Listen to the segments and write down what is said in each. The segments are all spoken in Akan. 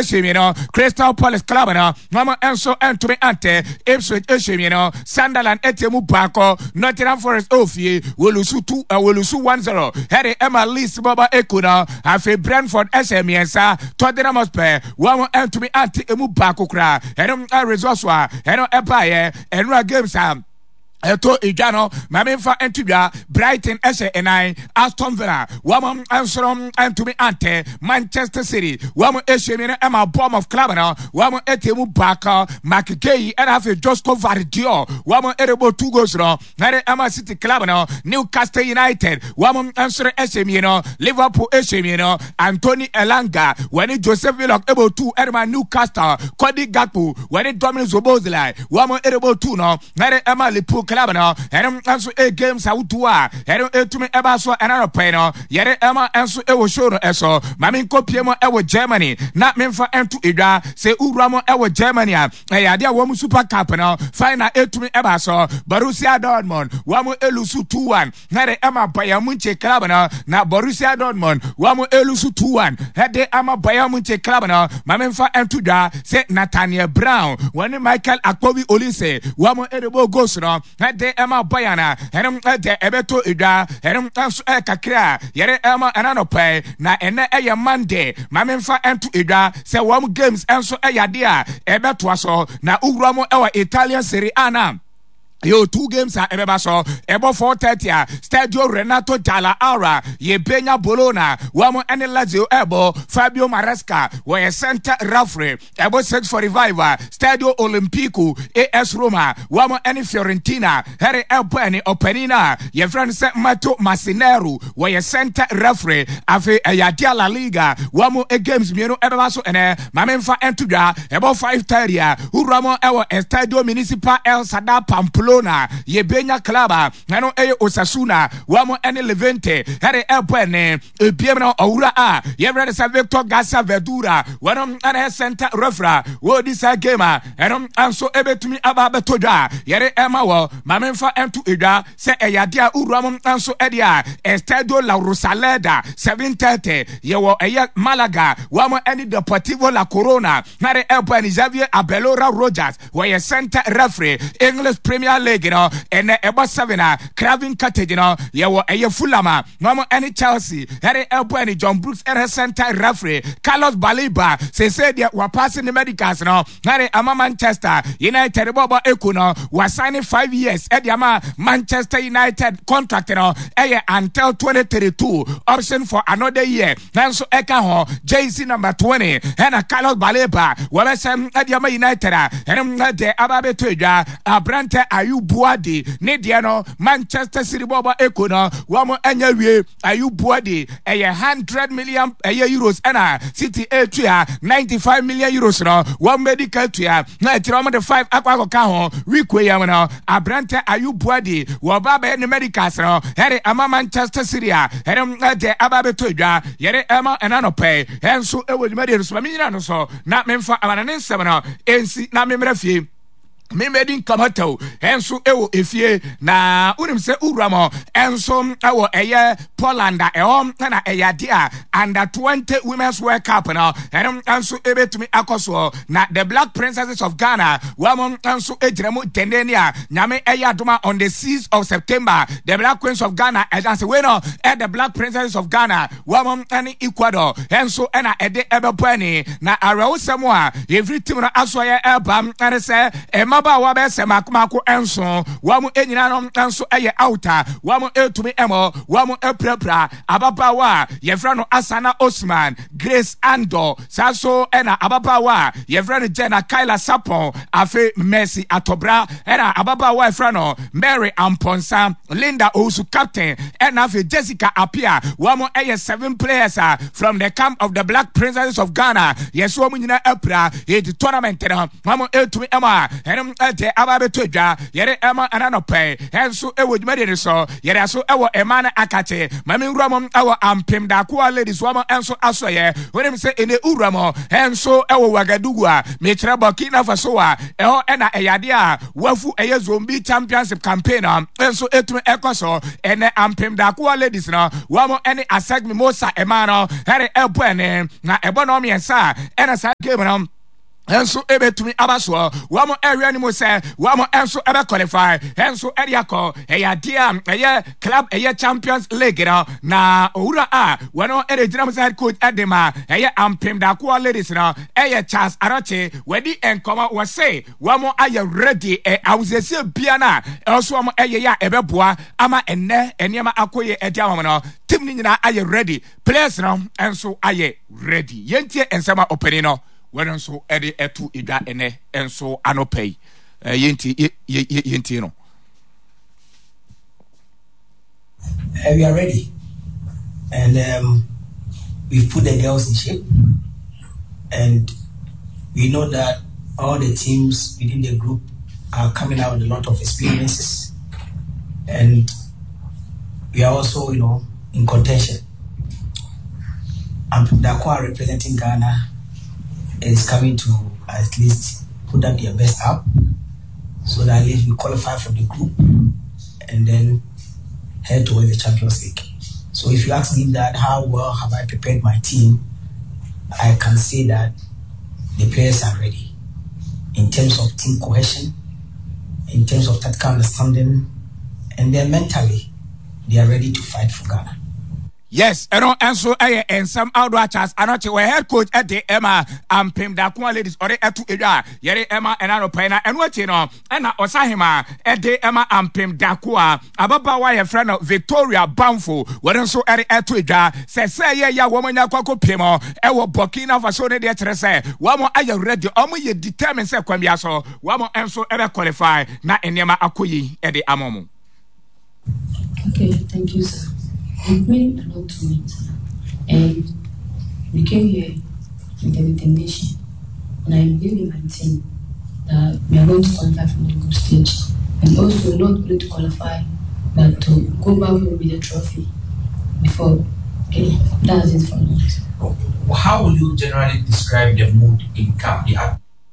Hyɛ mmienu, Crystal Palace club no wɔn nso ntumi ante. Ipswich hyɛ mmienu, Sunderland ɛte mu baako. Nottingham Forest ɛwɔ fie wɔlusu two wɔlusu 1-0 ɛde ɛma Leeds bɔbɔ eko no. Afei Brentford ɛhyɛ mmiɛnsa, Tottenham Hotspur wɔn ntumi ante emu baako koraa. Ɛno results a ɛno ɛbaeɛ ɛnora games a ɛtɔ edwa no, maame nfa nto dwa. Brighton ɛhyɛ ɛnan, Aston Villa wɔn nsoro ntumi antɛ. Manchester City wɔn ɛhyɛ mmienu ɛma Bournemouth club no wɔn ɛte mu baako. Marc Guehi ɛna afei Josko Gvardiol wɔn ɛrebɔ two goals no ɛde ɛma City club no. Newcastle United wɔn nsoro ɛhyɛ mmienu, Liverpool ɛhyɛ mmienu. Anthony Elanga wɔne Joseph Willock ɛbɔ two ɛde ma Newcastle. Cody Gakpo wɔne Dominic Szoboszlai wɔn ɛrebɔ two no ɛde ɛma Liverpool club no. Ɛno nso ɛ games ahodoɔ a ɛno ɛtumi ɛba so ɛna nɔpɛ no yɛde ɛma nso ɛwɔ show no ɛso. Maame nkɔpie mu ɛwɔ Germany na memfa ɛnto edwa sɛ wura mu ɛwɔ Germany a, ɛyɛ adeɛ a wɔn Super Cup no final ɛtumi ɛba so. Borussia Dortmund wɔn ɛlose 2-1 ɛde ɛma Bayern Munich club no. Na Borussia Dortmund wɔn ɛlose 2-1 ɛde ama Bayern Munich club no. Maame nfa ɛnto dwa sɛ Nathaniel Brown wɔne Michael Akpovi Olise wɔn ɛrebɔ goals no ɛde ɛma Bayern a ɛno ɛde ɛbɛtɔ edwa. Ɛno nso ɛyɛ kakra a yɛde ɛma ɛna nɔpɛ. Na ɛnɛ ɛyɛ Monday. Maame nfa ɛnto edwa sɛ wɔn games nso ɛyɛ adeɛ a ɛbɛtoa so. Na wura mu ɛwɔ Italian Serie A na yɛ two games a ɛbɛba so. Ɛbɔ 4:30 a, Stadio Renato Dalla Aura, yɛbɛnya Bologna wɔn ɛne Lazio ɛbɔ. Fabio Maresca wɔyɛ center referee. Ɛbɔ 6:45 a, Stadio Olimpico, AS Roma wɔn ɛne Fiorentina ɛre ɛbɔ. Ɛne ɔpanin no a yɛfrɛ no sɛ Mato Massinero wɔyɛ center referee. Afei ɛyɛ adeɛ a La Liga wɔn games mmienu ɛbɛba so ɛnɛ. Maame nfa ɛnto dwa, ɛbɔ 5:30 a, wura mu ɛwɔ Estadio Municipal El Sada Pamplona, yɛbɛnya club a ɛno ɛyɛ Osasuna wɔn ɛne Levante ɛde ɛbɔ. Ɛne ebiem no, ɔwura a yɛfrɛ no sɛ Victor Garcia Verdura wɔn ɛna ɛyɛ center referee a wɔredi saa game a ɛno nso ɛbɛtumi aba abɛtɔ dwa a yɛde ɛma wɔ. Maame nfa ɛnto edwa sɛ ɛyɛ adeɛ a wura mu nso ɛde a Estadio La Rosaleda, 7:30, yɛwɔ ɛyɛ Malaga wɔn ɛne Deportivo La Corona na de ɛbɔ. Ɛne Xavier Abelora Rogers wɔyɛ center referee. English Premier League no, ɛnɛ ɛbɔ 7 a, Craven Cottage no, yɛwɔ ɛyɛ Fulham a wɔn ɛne Chelsea ɛde ɛbɔ. Ɛne John Brooks ɛne center referee. Carlos Baleba sese deɛ wapaase ne medicals no na de ama Manchester United bɔbɔ eko no. Wasign 5 years ɛde ama Manchester United. Contract no ɛyɛ until 2032, option for another year nanso ɛka ho. Jersey number 20 ɛna Carlos Baleba wɔbɛsɛm ɛde ama United a ɛno ɛde aba abɛtɔ edwa. Aberantɛ Ayyoub Bouaddi ne deɛ no, Manchester City bɔbɔ eko no wɔn ɛnyɛ wie. Ayyoub Bouaddi ɛyɛ 100 million ɛyɛ euros ɛna City etua €95 million no wɔn bɛdi ka tua na akyerɛ wɔn de five akɔ akɔka ho. Week wei yam no, aberantɛ Ayyoub Bouaddi wɔba bɛyɛ ne medicals no ɛde ama Manchester City a ɛde ɛde aba abɛtɔ edwa yɛde ɛma ɛna nɔpɛ. Ɛnso ɛwɔ dwumadie no so, ma menyina no so na memfa amana ne nsɛm no ɛnsi na memmrɛ fie mmɛdi nkamataw ɛnso ɛwɔ efie. Na wonim sɛ wura mɔ ɛnso ɛwɔ ɛyɛ Poland a ɛhɔ ɛna ɛyɛ ade a Under 20 Women's World Cup no ɛno nso ɛbɛtumi akɔ soɔ. Na the Black Princesses of Ghana wɔn nso gyina mu dendenne a Nyame ɛyɛ adoma, on the 6th of September, the Black Queens of Ghana ɛda sɛ wei no ɛ the Black Princesses of Ghana wɔn ne Ecuador ɛnso ɛna ɛde ɛbɛbɔ ani. Na awerɛhosɛm a yɛfiri team no asoɔyɛ ɛba ɛne sɛ mmabaawa bɛyɛ sɛ mako mako nson wɔn nyinaa no nso ɛyɛ out a wɔn ɛtumi ɛmɔ. Wɔn apirapira. Ababaawa a yɛfrɛ no Asana Osman, Grace Ando, saa so ɛna ababaawa a yɛfrɛ no Jenna Kyla Sapon, afei Mercy Atɔbra, ɛna ababaawa a yɛfrɛ no Mary Amponsa, Linda Owusu captain, ɛna afei Jessica Apia. Wɔn ɛyɛ seven players a from the camp of the Black Princesses of Ghana yɛsɛ wɔn nyinaa apira. Yɛdi tournament no wɔn ɛtumi ɛmɔ a ɛno Ɛno ɛde aba abɛtɔ dwa yɛde ɛma ɛna nɔpɛ ɛnso ɛwɔ dwumadie no so yɛde aso ɛwɔ ɛma no akate ma me nwura mu ɛwɔ ampem dakoa ladies wɔn ɛnso asɔyɛ wonim sɛ ɛnɛ wura mu ɛnso ɛwɔ Wagadugu a mekyerɛ Burkina Faso a ɛhɔ ɛna ɛyɛ adeɛ a wafu ɛyɛ Zombie Championship campaign no ɛnso ɛtumi ɛkɔ so ɛnɛ ampem dakoa ladies no wɔn ɛne Aseg Mimosa ɛma no ɛde ɛbɔ ɛne na ɛbɔ no mmiɛnsa ɛna saa game no nso ebetumi aba soɔ. Wɔn ɛhwɛ anim sɛ wɔn nso ɛbɛ qualify nso ɛde akɔ ɛyɛ adeɛ a ɛyɛ club ɛyɛ Champions League no na owura a wɔn ɛde gyina mu sɛ head coach ɛde ma ɛyɛ ampem dakoa ladies no ɛyɛ Charles Arɔkye wɔadi nkɔmɔ wɔse wɔn ayɛ ready ɛ ahosiesie bia no a ɛwɔ so wɔn ɛyɛ yɛ a ɛbɛboa ama ɛnɛ nneɛma akɔ yɛ ɛde ama wɔn no team no nyinaa ayɛ ready players no nso ayɛ ready yɛntie nsɛm a ɔpanin no wɔn nso de ɛto edwa ɛnɛ nso anɔpa yi yɛntie yɛntie no. Uh, we are ready, and um, we've put the girls in shape, and we know that all the teams within the group are coming out with a lot of experiences, and we are also, you know, in contention. And Dakwa representing Ghana is coming to at least put up their best up so that at least we qualify for the group and then head towards the Champions League. So if you ask me that how well have I prepared my team, I can say that the players are ready in terms of team cohesion, in terms of tactical understanding, and then mentally they are ready to fight for Ghana. Yes, ɛno nso yɛ nsɛm ahodoɔ a Charles Anokye wɔ head coach de ɛma Ampem Dakoa Ladies ɔde ɛto edwa a yɛde ɛma ɛna anɔpa yi na ɛno akyi no ɛna ɔsahema ɛde ɛma Ampem Dakoa ababaawa a yɛfrɛ no Victoria Bamfo wɔde nso ɛde ɛto edwa sɛ sɛ ɛyɛ yɛ a wɔn anya akɔ akɔpie mu ɛwɔ Burkina Faso ne deɛ kyerɛ sɛ wɔn ayɛ ready wɔn yɛ determined sɛ kwan bia so wɔn nso ɛbɛ qualify na nneɛma akɔ yi ɛde ama wɔn. Okay, thank you, sir. It means a lot to me, sir. And we came here with a determination, and I believe in my team that we are going to qualify from the group stage, and also not only to qualify, but to go back home with a trophy before. Okay, that's it for me. How would you generally describe the mood in camp, the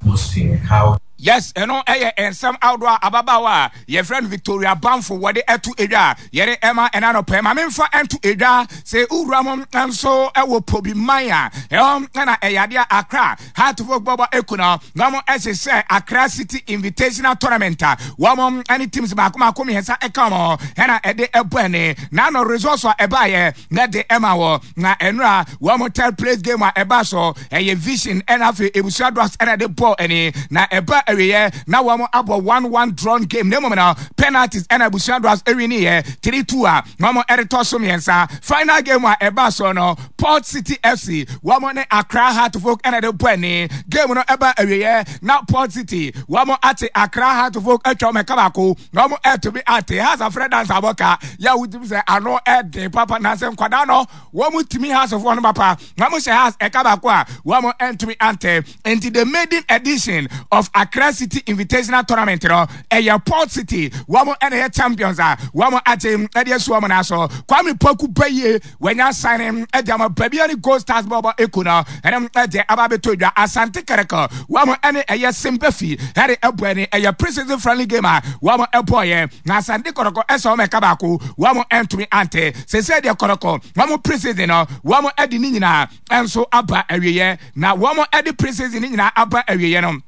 atmosphere? How Yes, ɛno yɛ nsɛm ahodoɔ a ababaawa a yɛfrɛ no Victoria Bamfo wɔde ɛto edwa a yɛde ɛma ɛna anɔpɛ. Ma memfa ɛnto edwa sɛ wura mu nso ɛwɔ Pobi man a ɛhɔ ɛna ɛyɛ adeɛ a Accra Heartfolk bɔbɔ eku no na wɔn ɛhyehyɛ Accra City Invitational Tournament a wɔn ɛne teams baako baako mmiɛnsa ɛka wɔn ɛna ɛde ɛbɔ ɛne na ano results a ɛbaayɛ na ɛde ɛma wɔ Na ɛnora wɔn third place game a ɛba so ɛyɛ Vision ɛna afei Ebusua Dwarfs ɛna ɛde bɔɔl ɛni na ɛba awieɛ na wɔn abɔ 1-1 drawn game na mmom no penalties ɛna Ebusua Dwarfs ɛwini yɛ 3-2 a wɔn ɛde tɔ so mmiɛnsa. Final game a ɛba so no Port City FC wɔn ne Accra Heartfolk ɛna ɛde bɔɔl ɛni game no ɛba awieɛ na Port City wɔn ate Accra Heartfolk atwa wɔn ɛka baako na wɔn ɛtumi ate Hearts afrɛ dance abɔka yɛ a wotumi sɛ ano ɛden papa na sɛ nkwadaa no wɔn tumi hasefoɔ no papa na wɔn hyɛ has ɛka baako a wɔn ntumi ante nti the maiden edition of Accra City Invitational Tournament no ɛyɛ Port City wɔn ɛna ɛyɛ champions a wɔn agye ɛde asu wɔn nan so Kwame Poku Bayie wɔnya signing ɛde ama baabi ne Gold Stars bɔbɔ eko no ɛne ɛde aba abɛtɔ dwa Asante Kɛrɛkɛ wɔn ɛne ɛyɛ Simbafi ɛde ɛbɔ ɛne ɛyɛ pre-season friendly game a wɔn ɛbɔɔyɛ Na Asante Kɔtɔkɔ ɛsɛ wɔn ɛka baako, wɔn ɛntumi ante. Sesei deɛ Kɔtɔkɔ wɔn pre-season no wɔn ɛde ne nyinaa ɛnso aba awieɛ. Na wɔn ɛde pre-season ne nyinaa aba awieɛ no,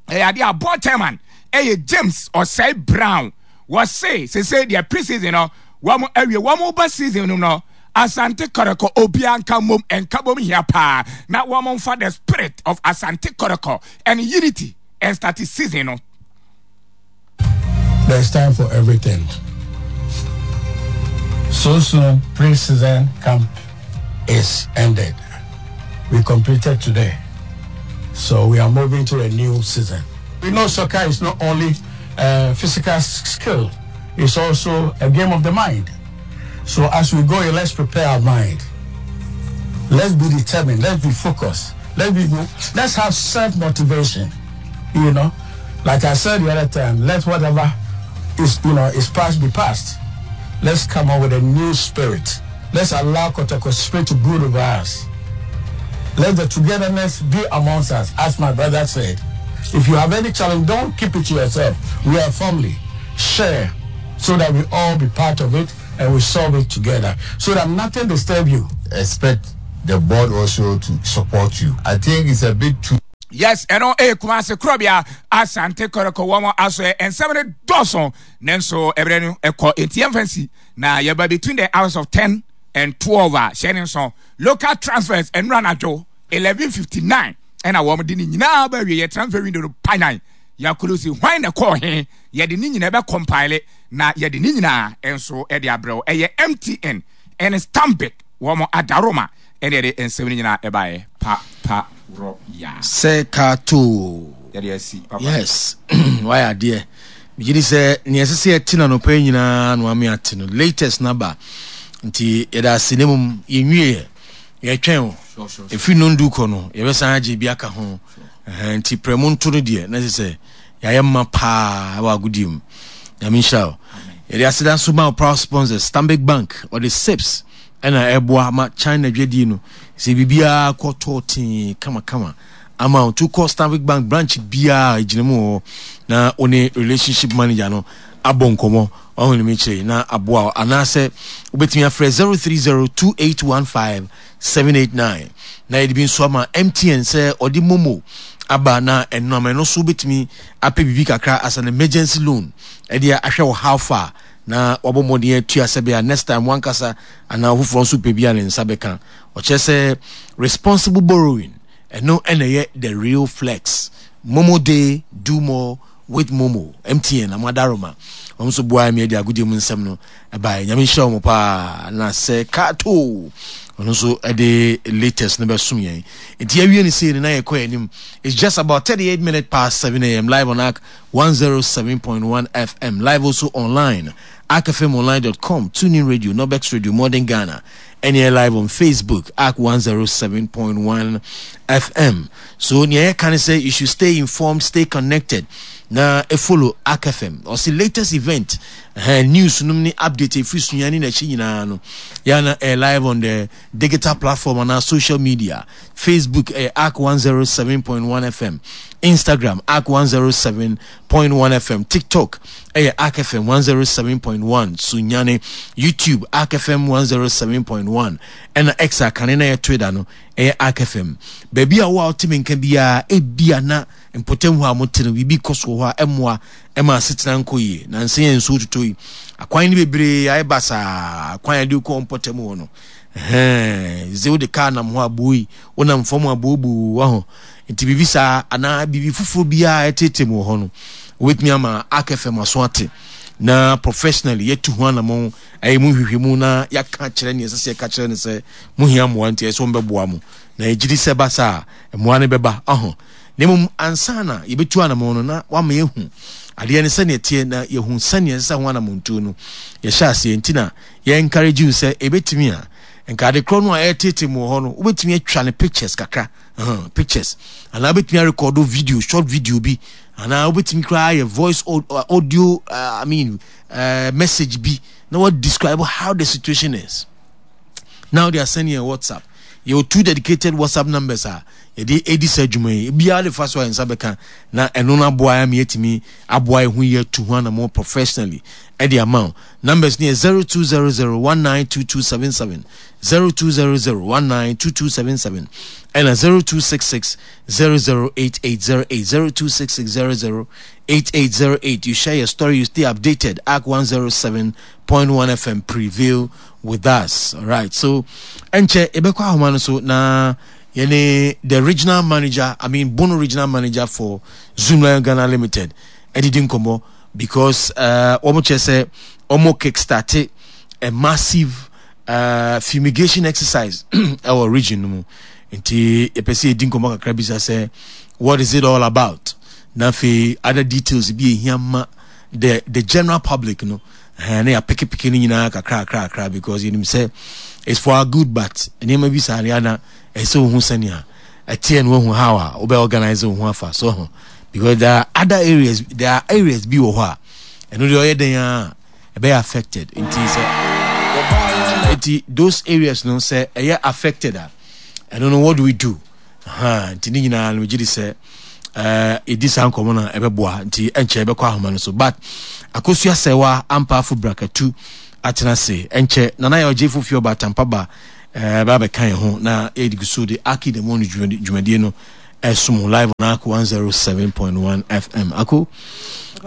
ɛyɛ adeɛ a board chairman ɛyɛ James Osei Brown. Wɔse sesei deɛ pre-season no wɔn awie, wɔn ba season no no Asante Kɔtɔkɔ obiara nka mmom, nka bom hia paa na wɔn mfa the spirit of Asante Kɔtɔkɔ and unity ɛnstarte season no. There's time for everything. So soon, pre-season camp is ended. We completed today. So we are moving to a new season. We know soccer is not only uh, physical skill, it's also a game of the mind. So as we go, let's prepare our mind. Let's be determined. Let's be focused. Let's be. Let's have self motivation. You know, Like I said the other time, let whatever is you know is past be past. Let's come up with a new spirit. Let's allow Kotoko spirit to brood over us. Let the togetherness be amongst us, as my brother said. If you have any challenge, don't keep it to yourself. We are family. Share so that we all be part of it and we solve it together so that nothing disturb you. Expect the board also to support you. I think it's a bit too. Yes, ɛno ɛyɛ Kumasi korɔbea Asante Kɔtɔkɔ wɔn asoɛ nsɛm no dɔɔso nanso ɛberɛ no ɛkɔ enti yɛmfa nsi na yɛba between the hours of 10 and 12 a hyɛ ne nso local transfers ɛnura anadwo 11:59 ɛna wɔn de ne nyinaa ba awie yɛ transfer window no panyan yɛakolosi hwan na ɛkɔɔ he yɛde ne nyinaa bɛ compile na yɛde ne nyinaa nso ɛde abrɛw ɛyɛ MTN ɛne Stanbic wɔn adaroma ɛne yɛde nsɛm no nyinaa ɛbaeɛ pa pa worɔ yaa. Sɛ kaatoo. Yɛde asi papa. Yes wayɛ adeɛ. Megye di sɛ nea ɛsɛ sɛ yɛte no anɔpa yi nyinaa na wame ate no. Latest no aba. Nti yɛda ase na mmom yɛnwieɛ. Yɛtwɛn o. Ɛfiri nnɔndu kɔ no yɛbɛsan agye bi aka ho. Nti prɛmo nto no deɛ na ɛsɛ sɛ yɛayɛ mma paa wɔ agodie mu. Nyame nhyira wo. Yɛde aseda nso ma wo proud sponsors Stanbic Bank ɔde SIPS ɛna ɛboa ma China dwadie no sɛ biribiara kɔ tɔɔ tee kamakama ama wo. Nti wokɔ Stanbic Bank branch biara ɛgyina mu wɔ hɔ na wo ne relationship manager no abɔ nkɔmmɔ ɔho ne mekyerɛ na aboa wo anaasɛ wobɛtumi afrɛ 0302815789 na yɛde bi nso ama MTN sɛ ɔde momo aba na ɛnam ɛno so wobɛtumi apɛ biribi kakra as an emergency loan ɛde ahwɛ wo how far na wabɔ mmɔden atua sɛbea next time wankasa anaa ɔfoforɔ nso pɛ bi a ne nsa bɛka. Ɔkyerɛ sɛ responsible borrowing ɛno ɛna ɛyɛ the real flex. Momo day do more with Momo. MTN Amadaroma wɔn nso boaeɛ me de agodie mu nsɛm no ɛbaeɛ. Nyame nhyira wɔn paa na sɛ Kato ɔno nso ɛde latest no bɛsom yɛn. Nti yɛawie no sei no na yɛkɔ yɛn anim. It's just about 38 minutes past 7 a.m. live on ARC 107.1 FM, live also online, arcfmonline.com, TuneIn Radio, Nobex Radio, Modern Ghana, and live on Facebook, ARC 107.1 FM. So, nea yɛka ne sɛ you should stay informed, stay connected. Na e follow ARC FM. Ɔsi latest event, uh, news nom ne update efiri sunya ne n'akyi nyinaa no. Yana eh, live on the digital platform anaa social media Facebook ɛyɛ Ark 107.1 FM, Instagram Ark 107.1 FM, TikTok ɛyɛ Ark FM 107.1 Sunyane, YouTube Ark FM 107.1 ɛna X a kane na yɛ Twitter no ɛyɛ Ark FM. Baabi a wo a wote me nka biara ebia na mpɔtam hɔ a mote no biribi kɔ so wɔ hɔ a ɛmmoa ɛma asetena nkɔ yie. Nansa yi a nsuo totɔ yi akwan no bebree ayɛ basaa, akwan a ɛde kɔ mpɔtam hɔ no Ɛhɛn, dze wode kaar nam hɔ a buei, wonam famu a buobuu, wahu. Ntsi biribi saa anaa biribi fofor biara a ɛtseetsee mu wɔ hɔ no, wobetumi ama Ark FM aso atse na professionally yɛatu ho anamɔn, ayɛ mu nhwehwɛmu na yɛaka akyerɛ nea ɛsɛ sɛ yɛka kyerɛ no sɛ mohia mmoa nti ɛsɛ sɛ wɔbɛboa mo. Na yɛgye di sɛ ɛba saa a, mmoa no bɛba. Aho. Na mmom ansa na yɛbɛtu anamɔn no na wama yɛahu adeɛ no sɛnea ɛteɛ na yɛahu sɛnea ɛsɛ sɛ ho anamɔntuo no yɛhyɛ aseɛ nti na Yɛ encourage wo sɛ ɛbɛtumi a, nka ade korɔ no a ɛretete mu wɔ hɔ no, wobɛtumi atwa no pictures kakra, uh, pictures, anaa wobɛtumi arekɔdo video, short video bi, anaa wobɛtumi koraa ayɛ voice audio, I mean, message bi, na what describe how the situation is. Now they are sending a WhatsApp. Yɛwɔ two dedicated WhatsApp numbers a yɛde edi saa adwuma yi. Ebiara de fa so a yɛn nsa bɛka na ɛno no aboa yɛn ama yɛatumi aboa yɛn ho yie atu ho anammɔn professionally ɛde ama wo. Numbers no yɛ 0200192277, 0200192277 ɛna 0266008808, 0266008808. You share your story, you stay updated. ARC 107.1 FM prevail with us. All right. So, ɛnkyɛ yɛbɛkɔ ahoma no so na yɛne the regional manager, I mean Bono regional manager for Zoomlion Ghana Limited ɛdidi nkɔmmɔ because uh, wɔn kyerɛ sɛ wɔn kickstarte a massive uh, fumigation exercise ɛwɔ region no mu nti yɛpɛ sɛ yɛdi nkɔmmɔ kakra bisa sɛ what is it all about na afei other details bi ehia ma the the general public no ɛɛ na yɛapekepeke no nyinaa kakra kakra kakra because yɛnim sɛ it's for our good but nneɛma bi saa deɛ ana ɛsɛ ohun sɛnea ɛteɛ no ohun how a wobɛ organize wo ho afa so ho. Because there are other areas, there are areas bi wɔ hɔ a ɛno deɛ ɔyɛ dɛn a ɛbɛyɛ affected. Nti sɛ nti those areas no sɛ ɛyɛ affected a ɛno no what do we do? Ha nti ne nyinaa no megye di sɛ ɛdi saa nkɔmmɔ no a ɛbɛboa nti ɛnkyɛ ɛbɛkɔ ahoma no so but akosua sɛwa ampaafo brakatu atena ase ɛnkyɛ nana yɛ ɔgye fofi ɔba atampa ba ɛbɛ abɛka yɛn ho na yɛde gu so de aki the morning dwumadie no ɛsom live on ako 107.1 fm ako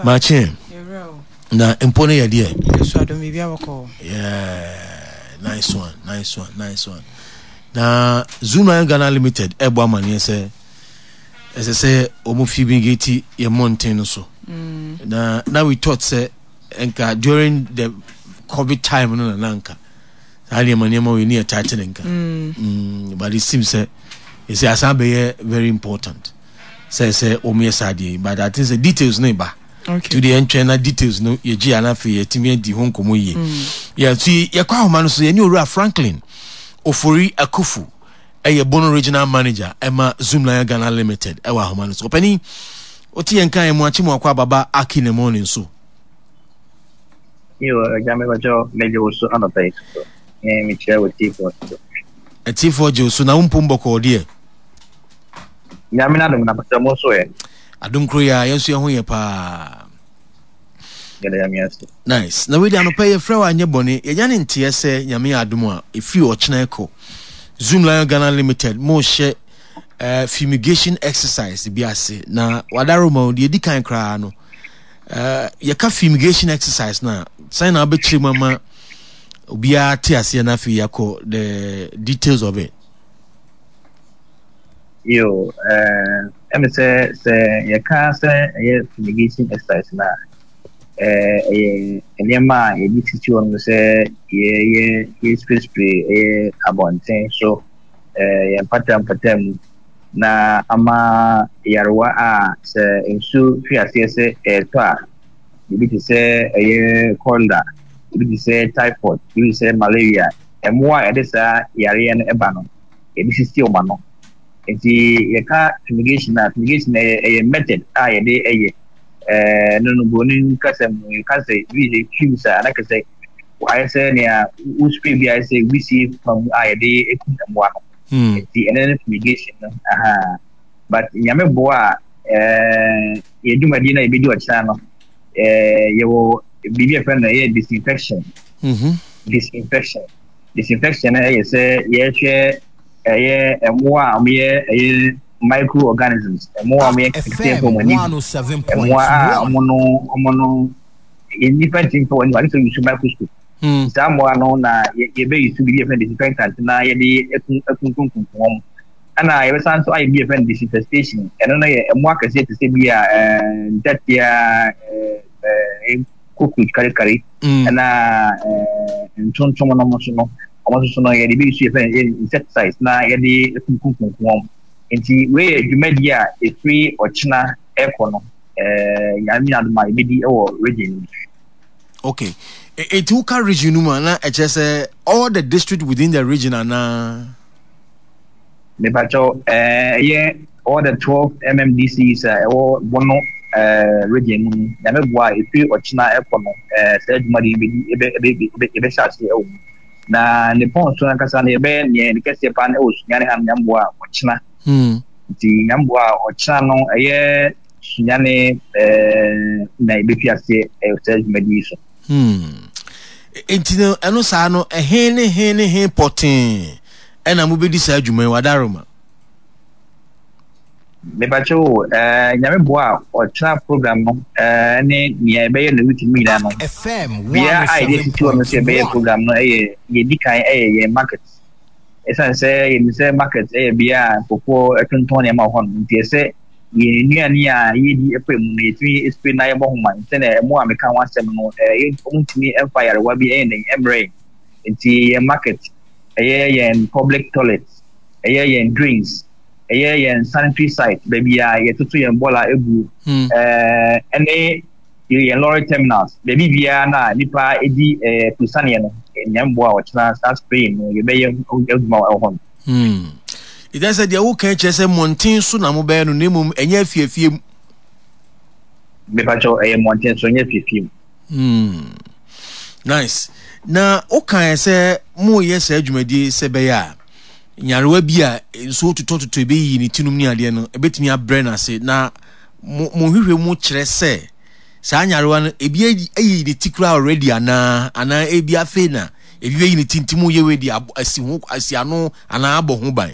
makye na mpo no yɛ deɛ yeah nice one nice one nice one Na Zoomlion Ghana Limited ɛbɔ amaneɛ sɛ ɛsɛ sɛ wɔn fumigate yɛn mmɔnten no so. Mm. Na na we thought sɛ nka during the COVID time no na na nka saa nneɛma nneɛma wei ne yɛ title nka. Mm. Mm, but it seems sɛ ɛsɛ asan bɛyɛ very important sɛ sɛ wɔn yɛ saa deɛ but I think sɛ details no ba. Okay. To deɛ ntwɛn na details no yɛgye yɛn afei yɛtumi adi ho nkɔmmɔ yie. Mm. Yeah, so yɛkɔ ahoma no so yɛne owura Franklin Ofori Akufu ɛyɛ Bono Regional Manager ɛma Zoomlion Ghana Limited ɛwɔ ahoma no so. Ɔpanin, wote yɛn kan mu akye mu akɔ ababa aki ne mu ne nso. Yo, agya me bɛkyɛ megye wo so anɔpa yi so. Me mekyerɛ wo tiefoɔ so. Atiefoɔ gye wo so na wo mpom bɔkɔɔ deɛ. Nyame n'adom na bɛkyɛ mo nso ɛ. Adom koro yi a yɛn nso yɛn ho yɛ paa. Yɛda Nyame ase. Nice. Na wei de anɔpa yi yɛfrɛ wo anyɛ bɔne. Yɛnya ne nteɛ sɛ Nyame yɛ adom a ɛfiri ɔkyena ɛkɔ. Zoom Lion Ghana Limited mo hyɛ uh, fumigation exercise bi ase. Na wadaroma o deɛ ɛdi kan koraa no. Uh, yɛka fumigation exercise na sɛn na wobɛkyerɛ mu ama obiara te aseɛ na afei yɛakɔ the details of it. Yo, eh, ɛmi sɛ sɛ yɛka sɛ ɛyɛ fumigation exercise no a, eh, ɛyɛ nneɛma a yɛde sisi hɔ no sɛ yɛyɛ yɛspray ɛyɛ abɔnten so, eh, yɛn mpata mpata mu na ama yarewa a sɛ nsuo fi aseɛ sɛ ɛretɔ a, ebi te sɛ ɛyɛ cholera, ebi te sɛ typhoid, ebi te sɛ malaria, mmoa a ɛde saa yareɛ no ba no, yɛde sisi wɔn ano. Nti yɛka fumigation a, fumigation ɛyɛ ɛyɛ method a yɛde ɛyɛ. Ɛɛ no no buroni kasa mu yɛka sɛ bi sɛ fumes a na kɛsɛ ayɛ sɛ nea wo spray bi ayɛ sɛ wisie fa mu a yɛde ekum mmoa no. Hmm. Nti ɛno ne fumigation no. Aha. But nyame boa a ɛɛ yɛ dwumadie no a yɛbɛdi ɔkyena no ɛɛ yɛwɔ biribi a yɛfrɛ no ɛyɛ disinfection. Mm -hmm. Disinfection. Disinfection no yɛ sɛ yɛhwɛ ɛyɛ mmoa a wɔyɛ ɛyɛ microorganisms, mmoa a wɔyɛ nketenkete mfa wɔn ani, mmoa a wɔn no wɔn no nnipa ntumi mfa wɔn ani, ade sɛ yusu microscope. Hmm. Saa mmoa no na yɛbɛyi su biribi yɛfrɛ no disinfectant na yɛde akunkunkunkum wɔn. Ɛna yɛbɛsan nso ayɛ bi yɛfrɛ no disinfestation. Ɛno no yɛ mmoa kɛseɛ te sɛ bi a ntatea, cockroach karikari. Mm. Ɛna eh, ntontom no nso no, wɔn nso so no yɛde bi nso yɛfrɛ no insecticides na yɛde kunkunkunkum wɔn. Nti wei yɛ dwumadi a ɛfiri ɔkyena ɛkɔ no eh, nyame adom a yɛbɛdi wɔ region no mu. Okay. Eti woka region no mu a na ɛkyerɛ sɛ all the district within the region anaa? Mepakyɛw, ɛyɛ all the 12 MMDCs a ɛwɔ Bono region mu no, Nyame boa a ɛfiri ɔkyena ɛkɔ no, saa dwumadi yi bɛdi, yɛbɛhyɛ ase ɛwɔ mu. Na ne pɔn so ankasa no, yɛbɛyɛ neɛ ne kɛseɛ paa no ɛwɔ Sunyani ha no, Nyame boa a ɔkyena. Hmm. Nti Nyame boa a ɔkyena no, ɛyɛ Sunyani na yɛbɛfi aseɛ ɛwɔ saa dwumadi yi so. Hmm. Nti no, ɛno saa no, ɛhe ne he ne he pɔtee ɛna mobɛdi saa dwuma yi wadaroma? Mepakyɛ o, eh, nyame boa a ɔkyena program no eh, ne nea ɛbɛyɛ no week mu nyinaa no bea a yɛde asisi hɔ no sɛ yɛbɛyɛ program no ɛyɛ yɛdi kan ɛyɛ yɛn market ɛsiane sɛ yɛnim sɛ market ɛyɛ bea a nkurɔfoɔ ɛtontɔn nneɛma wɔ hɔ no nti ɛsɛ yɛn nnuane a yɛdi ɛkɔ mu no yɛtumi spray na yɛbɔ ho ban sɛnea ɛmo a meka ho asɛm no ɛɛ wɔntumi ɛmfa yarewa bi ɛyɛ dɛn ɛmmerɛ nti yɛn market ɛyɛ yɛn public toilet, ɛyɛ yɛn drains, ɛyɛ yɛn sanitary site, baabi a yɛtoto yɛn bɔla egu, hmm. ɛɛ ɛne yɛn lorry terminals, baabi biara na nipa edi ɛɛ kusaneɛ no, nyɛ mboa a ɔkyena saa spray no yɛbɛyɛ adwuma wɔ hɔ no. Hmm. Ɛdɛ sɛ deɛ woka kyerɛ sɛ mmɔnten so na mobɛyɛ no na mmom ɛnyɛ afiafie mu. Mepakyɛw ɛyɛ mmɔnten so nyɛ fiefie mu. Hmm. Nice. Na wokae sɛ moyɛ saa dwumadie sɛ ɛbɛyɛ a nyarewa bi a nsuo totɔtotɔ ɛbɛyiyi ne tinom ne adeɛ no ɛbɛtumi abrɛ no ase na mo nhwehwɛ mu kyerɛ sɛ saa nyarewa no ebi ayi ne ti koraa already anaa anaa ebi afei na ebi bɛyi ne ti nti mo yɛ wei de asi ho asi ano anaa abɔ ho ban.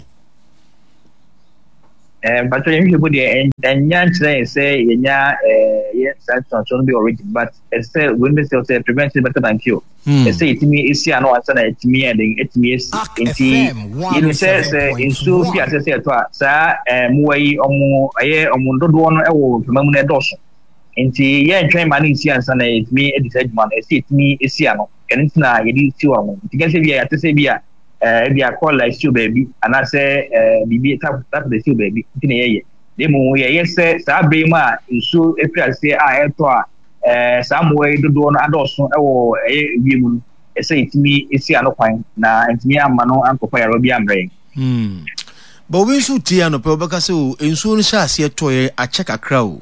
Eh, mpakyɛ yɛn hwehwɛ mu deɛ ɛnya nkyerɛ yɛn sɛ yɛnya eh, yɛ saa nsuansoɔ no bi already but ɛsɛ sɛ wei no sɛ sɛ prevention better than cure hmm. ɛsɛ yɛtumi esi ano ansa na ɛtumi yɛ den ɛtumi esi nti yɛnim sɛ sɛ nsuo fi ase sɛ ɛtɔ a saa eh, mmoa yi ɔmo ɛyɛ ɔmo dodoɔ no ɛwɔ mframa mu no ɛdɔɔso nti yɛntwɛn ma no nsi ansa na yɛtumi adi saa adwuma no ɛsɛ yɛtumi esi ano ɛno nti na yɛde si hɔ no nti kɛsɛ bi a yɛate sɛ bi a eh, ebi a kɔla esi wɔ baabi anaasɛ eh, biribi typhoid esi wɔ baabi nti na yɛyɛ na mmom yɛyɛ sɛ saa bere mu a nsuo efiri aseɛ a ɛretɔ a eh, saa mmoa yi dodoɔ no adɔɔso wɔ ɛyɛ wiem no ɛsɛ yɛtumi esi ano kwan na ntumi amma no ankɔfa yarewa bi ammrɛ yɛn. Hmm. But obi nso tie anɔpɛ wobɛka sɛ o nsuo no hyɛ aseɛ tɔeɛ akyɛ kakra o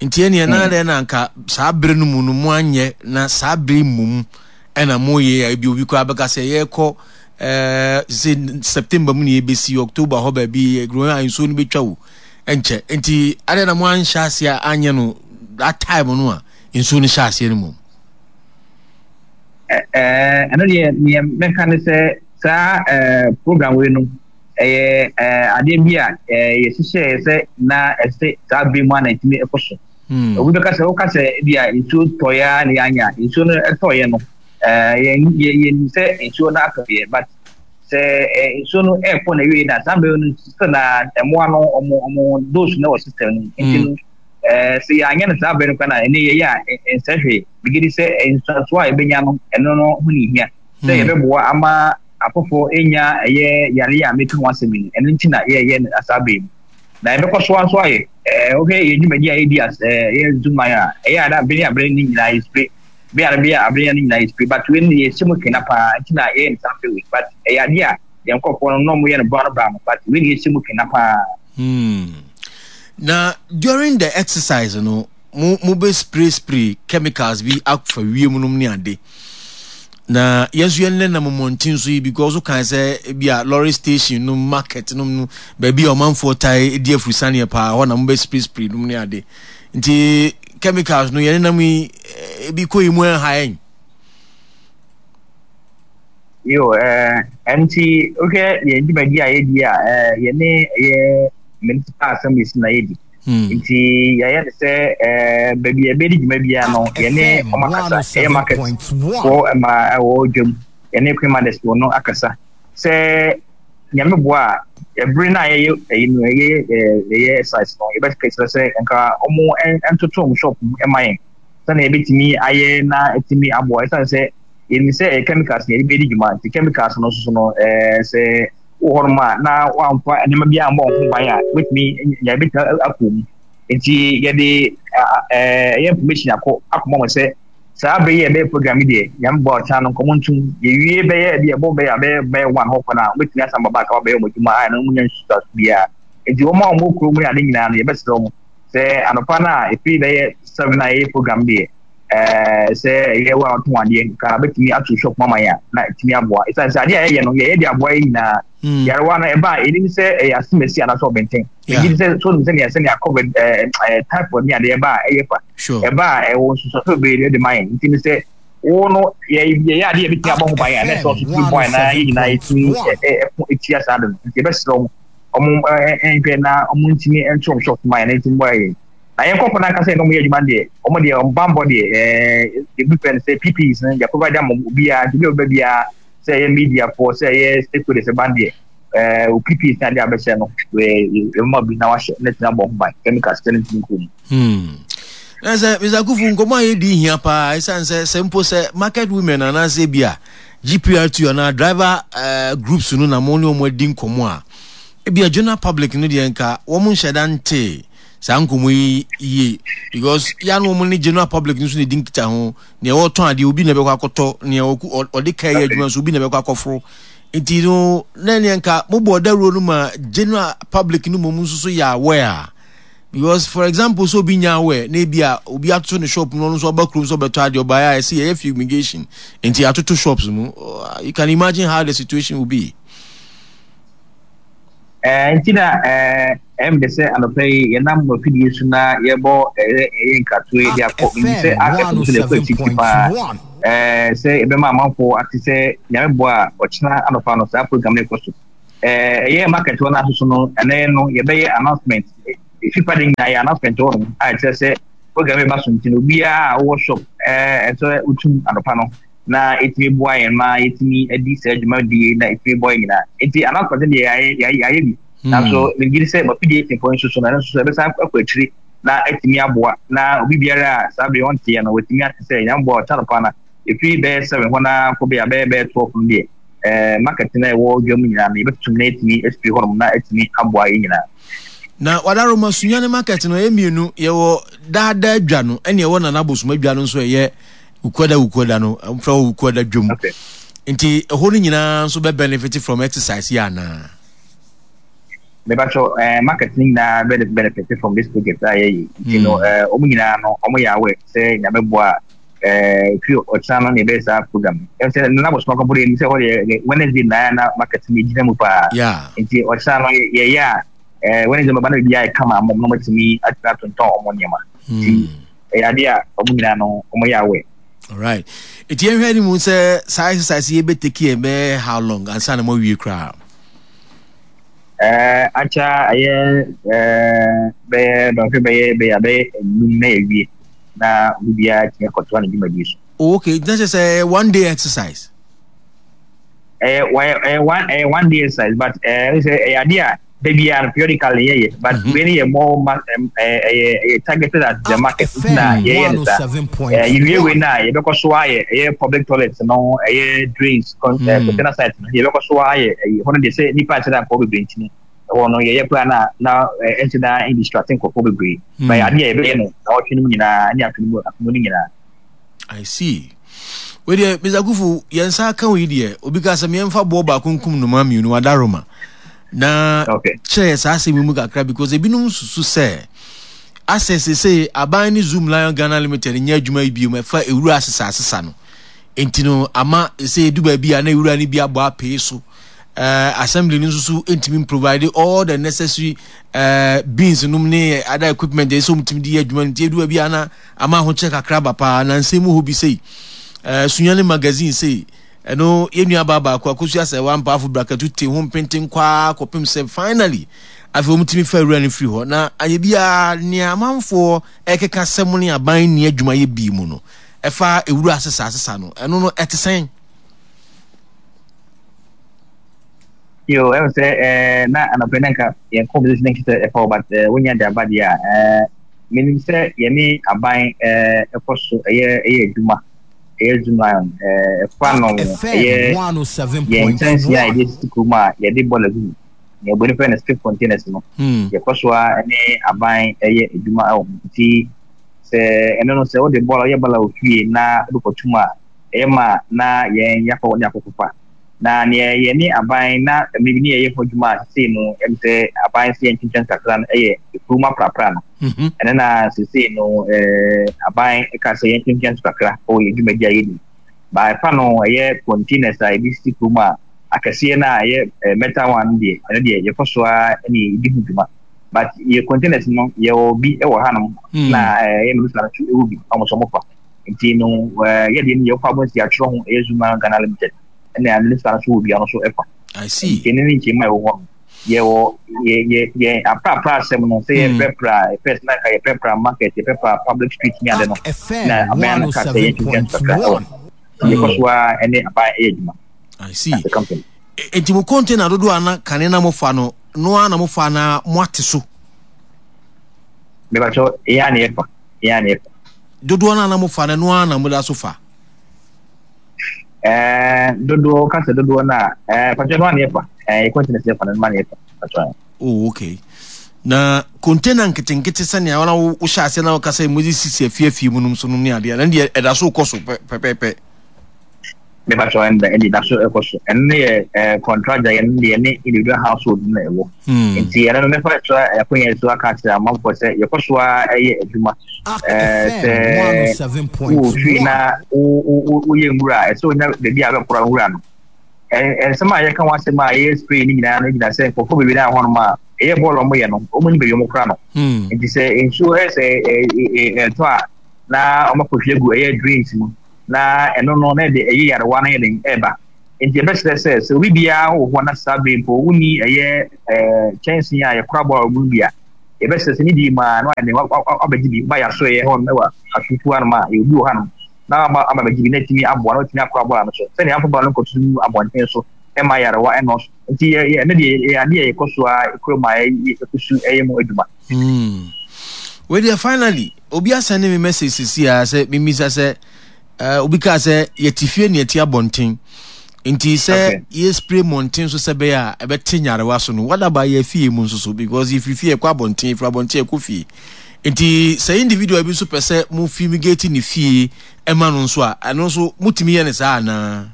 nti ɛneɛ na hmm. dɛn na anka saa bere no mu no mo anyɛ na saa bere mmom ɛna mo yɛ a ebi obi koraa bɛka sɛ yɛkɔ ɛɛ sɛ september mu na yɛbɛsi october hɔ baabi growing a nsuo no bɛtwa o ɛnkyɛ nti adɛn na mo anhyɛ aseɛ anyɛ no that time no a nsuo no hyɛ aseɛ no mu. ɛɛ ɛno deɛ neɛ mɛka ne sɛ saa ɛɛ program wei no ɛyɛ ɛɛ adeɛ bi a ɛɛ yɛhyehyɛɛ sɛ na ɛsɛ saa bere mu a na ɛtumi ɛkɔ so. Hmm. Obi bɛka sɛ woka sɛ ebi a nsuo tɔeɛ ara na yɛanya nsuo no tɔeɛ no ɛɛ yɛn yɛn sɛ nsuo no atɔeɛ but sɛ ɛɛ nsuo no ɛrekɔ na ewie na saa mmerɛ no sɛ na mmoa no ɔmo ɔmo dose no wɔ system no nti no hmm. ɛɛ sɛ yɛanyɛ no saa berɛ no kora na ɛne yɛyɛ a nsɛ hwee megye di sɛ nsuansoɔ a yɛbɛnya no ɛno no ho ne hia sɛ hmm. yɛbɛboa ama afoforɔ nya ɛyɛ yareɛ a meka ho asɛm yi ɛno nti na yɛyɛ no saa berɛ mu na yɛbɛkɔ so ara nso ayɛ. Ɛɛ wohwɛ yɛn dwumadi a yɛdi as ɛɛ yɛ Zuman a, ɛyɛ a na bere a bere ne nyinaa yɛ spray. Bere a bere a bere ne nyinaa yɛ spray. But wei no yɛhyɛ mu kena paa nti na yɛyɛ no saa bere wei. But ɛyɛ adeɛ a yɛn nkurɔfoɔ no na wɔyɛ no bra no bra no. But wei na yɛhyɛ mu kena paa. Hmm. Na during the exercise no, mo mo bɛ spray spray chemicals bi afa wiem nom ne ade. Na yɛn nso yɛn nenam mmɔnten so yi because wokan sɛ ebi a lorry station no market nom no baabi a ɔmanfoɔ tae di afurusaneɛ paa hɔ na mobɛ spray spray nom ne ade nti chemicals no yɛn nenam yi eh, ebi kɔ yi mu ɛnha yɛn. Yo, eh, nti wohwɛ yɛn dwumadi a yɛdi a eh, yɛne ɛyɛ municipal assemblies na yɛdi. Hmm. Nti yɛayɛ no sɛ eh, baabi a yɛbɛdi dwuma biara no yɛne wɔn akasa ɛyɛ market foɔ ma ɛwɔ dwam yɛne queen mothers foɔ no akasa sɛ nyame boa a ɛbere no a yɛyɛ ɛyi no ɛyɛ ɛyɛ exercise no yɛbɛkɛsɛ sɛ nka wɔn ntoto wɔn shop mu ɛma yɛn sɛnea yɛbɛtumi ayɛ na ɛtumi aboa ɛsiane sɛ yɛnim sɛ ɛyɛ chemicals na yɛde bɛdi dwuma nti chemicals no nso no ɛɛ sɛ wɔ hɔnom a na wamfa nneɛma bi ammɔ ho ban a wobɛtumi nya ebɛtumi akɔ mu nti yɛde ɛyɛ information akɔ akɔma wɔn sɛ saa bere yi a ɛbɛyɛ program yi deɛ nyame bɔ ɔkyena no nkɔmɔ ntum yɛwie bɛyɛ bi ɛbɔ bɛyɛ abɛyɛ bɛyɛ one hɔ kɔ no a wobɛtumi asan ba back a wɔbɛyɛ wɔn adwuma a ɛno mu nya nsusuaso biara nti wɔn a wɔn wɔ kurom ne ade nyinaa no yɛbɛsrɛ wɔn sɛ anɔpa no a ɛfiri bɛyɛ seven a yɛyɛ program deɛ ɛɛ sɛ ɛyɛ wo a ɔtɔn adeɛ nka bɛtumi ato shop mama yɛn a na ɛtumi aboa ɛsiane sɛ adeɛ a yɛyɛ no yɛyɛ de aboa yɛ nyinaa hmm. yarewa no ɛba a ɛnim sɛ ɛyɛ asemasi anaasɛ ɔbɛntɛn ɛgye di sɛ so nim sɛnea sɛnea covid ɛɛ ɛɛ typhoid ne adeɛ ɛba a ɛyɛ fa ɛba a ɛwɔ nsusuaso bebree de ma yɛn nti ne sɛ wo no yɛ yɛyɛ adeɛ yɛbɛtumi abɔ ho ban a na ɛsɛ ɔso tumi bɔ na yɛ nyinaa yɛtumi ɛko ɛtia saa de no nti yɛbɛsrɛ wɔn wɔn nhwɛ na wɔn ntumi nto wɔn shop ma yɛn na ntumi bɔ yɛn Na yɛn nkurɔfoɔ no ankasa yɛne wɔn yɛ adwuma no deɛ, wɔn deɛ wɔn bammɔ deɛ, ɛɛ, ebi fɛ no sɛ PPEs no, yɛ provide ama obiara, nti obi a ɔbɛba biara, sɛ ɛyɛ mediafoɔ, sɛ ɛyɛ stakeholders ɛba no deɛ, ɛɛ, wo PPEs no adeɛ a bɛhyɛ no, yɛbɛma bi na wahyɛ, na atumi abɔ ho ban, chemicals sɛ no ntumi nkɔ mu. Hmm. Na sɛ Mr. Kufu nkɔmɔ a yɛdi hia paa ɛsiane sɛ sɛ mpo sɛ market women anaasɛ bi a GPRT anaa driver uh, groups no na mo ne wɔn adi nkɔmɔ a ebi a general public no deɛ nka wɔn nhyɛ da ntee saa nkɔmmɔ yi yie because ya no wɔn ne general public nso na edi nkita ho nea ɔtɔn adeɛ obi na ɛbɛkɔ akɔtɔ nea ɔde ka yɛ adwuma nso obi na ɛbɛkɔ akɔforo nti no na nea nka mo bɔ dawuro no ma general public no mmom nso so yɛ aware a Because for example sɛ obi nya aware na ebi a obi atoto ne shop mu na ɔno nso ɔba kurom sɛ ɔbɛtɔ adeɛ ɔbaeɛ a ɛsɛ yɛyɛ fumigation nti yɛatoto shops mu. You can imagine how the situation will be. Eh, nti na eh, ɛm de sɛ anɔpa yi yɛnam mo afidie so na yɛbɔ ɛyɛ ɛyɛ nkratoɔ yi de akɔ menim sɛ akɛse nso na ɛkɔ akyirikyiri paa eh, sɛ yɛbɛma amanfoɔ ate sɛ nyame boa a ɔkyena anɔpa no saa program no ɛkɔ so eh, ɛyɛ market hɔ no asoso no ɛnɛ no yɛbɛyɛ announcement ɛfifa de nyinaa yɛ announcement hɔ nom a ɛkyerɛ sɛ program yi ba so nti no obiara a wowɔ shop eh, ɛsɛ wotum anɔpa no na ɛtumi boa yɛn ma yɛtumi adi saa dwumadie na ɛtumi boa yɛn nyinaa nti announcement deɛ yɛayɛ yɛayɛ bi hmm. nanso megye di sɛ mafidie tefo nso so no ɛno nso so ɛbɛsan akɔ akyiri na atumi aboa na obi biara a saa bere ɔnteɛ no watumi ate sɛ nyame boa ɔkyɛ anɔpa no ɛfiri bɛyɛ 7 hɔ na kɔ bɛyɛ bɛyɛ bɛyɛ 12 no deɛ ɛɛ market na ɛwɔ dwa mu nyinaa no yɛbɛtutum na ɛtumi asipiri hɔnom na ɛtumi aboa yɛn nyinaa. Na wadaroma sunyane market no ɛyɛ mmienu yɛwɔ daadaa dwa no ɛne ɛwɔ nana abosom adwa no nso ɛyɛ Wukuada Wukuada no wɔfrɛ hɔ Wukuada dwom. Okay. Nti ɛhɔ no nyinaa nso bɛ benefit from exercise yi anaa? Mebatɔ ɛɛ eh, market no nyinaa bɛ benefit from this project a yɛyɛ. Nti no hmm. ɛɛ eh, wɔn nyinaa no wɔn yɛ aware sɛ nyame boa a ɛɛ eh, fi ɔkyena no na yɛbɛyɛ saa program. Ɛm sɛ nana bɔ soma kɔmpɔ deɛ sɛ hɔ deɛ Wednesday na na market no gyina mu paa. Nti ɔkyena no yɛyɛ a ɛɛ Wednesday bɛba na biribi ayɛ kama ama wɔn na wɔatumi atena tontɔn wɔn nneɛma. Nti hmm. ɛyɛ adeɛ a wɔn nyinaa no wɔn yɛ aware. Alright. Nti yɛnhwɛ anim sɛ saa exercise yi bɛ take yɛn bɛyɛ how long ansa na moawie koraa? Ɛɛ akyɛ ɛyɛ ɛɛ bɛyɛ dɔnhwɛ bɛyɛ bɛyɛ bɛyɛ enum na yɛwie na obi biara tumi akɔtoa ne dwumadie so. Oh, okay. Nti na kyerɛ sɛ one day exercise. Ɛyɛ ɛyɛ one ɛyɛ one day exercise but ɛɛ sɛ ɛyɛ adeɛ a da biara no periodically yɛyɛ but mm -hmm. wei no yɛ more ma ɛyɛ ɛyɛ targeted at the market nti na yɛyɛ no saa ɛɛ yɛwie wei no a yɛbɛkɔ so ayɛ ɛyɛ public toilet no ɛyɛ drains con ɛɛ mm. container site no yɛbɛkɔ so ayɛ ɛyɛ hɔ no deɛ sɛ nipa nhyɛ da nkɔɔ bebree nti no ɛhɔ no yɛyɛ koraa na na ɛnhyɛ da indistrate nkurɔfoɔ bebree mm. but adeɛ a yɛbɛyɛ no na ɔtwe no mu nyinaa ne afe no mu afe mu no nyinaa. I see. Wei deɛ Mr. Kufu yɛn nsa aka wo yi deɛ obi ka sɛ meɛmfa boɔ baako nkum nnomaa mmienu adaroma na okay. kyerɛ yɛ saa asɛm yi mu kakra because ebinom susu sɛ asɛ sese aban ne Zoom Lion Ghana Limited nyɛ adwuma yi bio ɛfa ewura asesa asesa no nti no ama sɛ edu baabi a na ewura no bi abɔ apee so uh, assembly no nso so ntumi provide all the necessary uh, beans nom ne other equipment ɛsɛ wɔn tumi de yɛ adwuma no nti edu baabi a na ama ahokyerɛ kakra aba paa na nsɛm mu hɔ bi sei eh, Sunyani magazine sei ɛno yɛn nua baa baako akosua sɛ wampaafo brakatu te ho mpenten kwaa kɔpem sɛ finally afei wɔn tumi fa awura no firi hɔ na ayɛ biara nea amanfoɔ ɛkeka sɛ mo ne aban nni adwuma yɛ bii mu no ɛfa ewura asesa asesa no ɛno no ɛte sɛn? Yo, ɛwɔ sɛ ɛɛ na anɔpɛ na nka yɛn conversation nka sɛ ɛfa but ɛɛ wonya de aba deɛ a ɛɛ menim sɛ yɛne aban ɛɛ ɛkɔ so ɛyɛ ɛyɛ adwuma ɛyɛ zoomlion ɛɛ ɛfa no ɛyɛ yɛn nkyɛnse a yɛde sisi kurom a yɛde bɔɔla gu mu nea oboni fɛ no skip containers no hmm. yɛkɔ so a ɛne aban ɛyɛ adwuma ɛwɔ ho nti sɛ ɛno no sɛ wode bɔɔla woyɛ bɔɔla wɔ fie na wode kɔtum a ɛyɛ ma na yɛn yɛakɔ ne akɔkɔfa Na nea yɛne aban na mmere bi ne yɛyɛ ho adwuma a sesei no ɛm sɛ aban sɛ yɛntwentwɛn kakra no yɛ kurom aprapra no. Mhm. Ɛno na sesei no eh, aban ka sɛ yɛntwentwɛn so kakra wɔ yɛn dwumadi a yɛdi. Ba ɛfa no ɛyɛ containers a yɛde sisi kurom a akɛseɛ no a ɛyɛ eh, metal one no deɛ ɛno deɛ yɛkɔ so ara ne yɛdi ho dwuma. But yɛ containers no yɛwɔ bi wɔ hanom hmm. na eh, ɛyɛ minister no nso ɛwɔ bi a wɔn nso wɔfa. Nti no eh, yɛdeɛ no yɛkɔ abɔ nsi atwerɛ ho ɛyɛ Zuma Ghana Limited. ɛna minister nso wɔ dua no so ɛfa. I see. Nti ne ne nkyɛn mu a ɛwɔ hɔ no yɛwɔ yɛ yɛ yɛn aprapra asɛm no sɛ yɛprapra hmm. first na nka yɛprapra market yɛprapra public street ne ade no na aban no ka sɛ yɛntwentwɛn so kakra ɛwɔ yɛkɔ so a ɛne aban ɛyɛ adwuma. I see. As a company. Nti mo container dodoɔ a na kane na mofa no no ara na mofa na moate so. Mebakyɛ yɛn a na yɛfa yɛn a na yɛfa. Dodoɔ no a na mofa no no ara na moda so fa. Ɛɛ dodoɔ kasa dodoɔ no a ɛɛ pàtó no a na yɛfa ɛɛ yɛ containers yɛfa no no ma na yɛfa pàtó. Oh okay na container nketenkete sɛnea wɔn a wohyɛ aseɛ na wɔka sɛ mo de sisi afie afie mu nom so nom ne adeɛ na deɛ ɛda so kɔ so pɛpɛpɛ. Mepakyɛw ɛnda ɛde da so ɛkɔ so. Ɛno no yɛ ɛɛ contract a yɛn deɛ ne individual household na ɛwɔ. Hmm. Nti ɛno no mɛfa so akonya so aka akyerɛ amanfoɔ sɛ yɛkɔ so ara ɛyɛ adwuma. Ɛɛ sɛ wowɔ fie na woyɛ nwura a ɛsɛ onya baabi a bɛkora nwura no. Nsɛm a yɛka ho asɛm a yɛyɛ spray no nyinaa no gyina sɛ nkurɔfoɔ bebree na hɔnom a ɛyɛ bɔɔl a wɔyɛ no wɔn ni baabi wɔn kora no. Hmm. Nti sɛ nsuo ɛsɛ ɛtɔ a na wɔakɔhwie agu ɛyɛ drains mu. Na ɛno no na ɛde ɛyɛ yarewa no yɛ den ɛreba. Nti yɛbɛsrɛ sɛ sɛ obi biara wɔ hɔ na saa bere mpo wonni ɛyɛ ɛɛ kyɛnsee a yɛkora bɔɔl mu bi a, yɛbɛsrɛ sɛ ne di mu a na wayɛ den wabɛgye bi ba yɛasoɛyɛ hɔ no wɔ atutu hanom a yɛwɔ bi wɔ hanom na waba aba bɛgye bi na atumi aboa na watumi akora bɔɔl no so sɛnea amfa bɔɔl no nkɔto mu abɔnten so ɛma yarewa ɛnɔɔso. Nti yɛ yɛ ɛno deɛ yɛ adeɛ a yɛkɔ so a kura mu a yɛkɔ so ɛyɛ mu adwuma. Hmm. Wei deɛ finally Obi asɛnde me message sisi a sɛ mimisa sɛ uh, obi kaa sɛ yɛte fie ne yɛte abɔnten nti sɛ okay. yɛ spray mmɔnten so sɛ bɛyɛ a ɛbɛte nyarewa so no what about yɛ fie mu nso so because yɛfiri fie yɛkɔ abɔnten yɛfiri abɔnten yɛkɔ fie nti sɛ individual bi nso pɛ sɛ mo fumigate ne fie ɛma no nso a ɛno nso motumi yɛ ne saa anaa?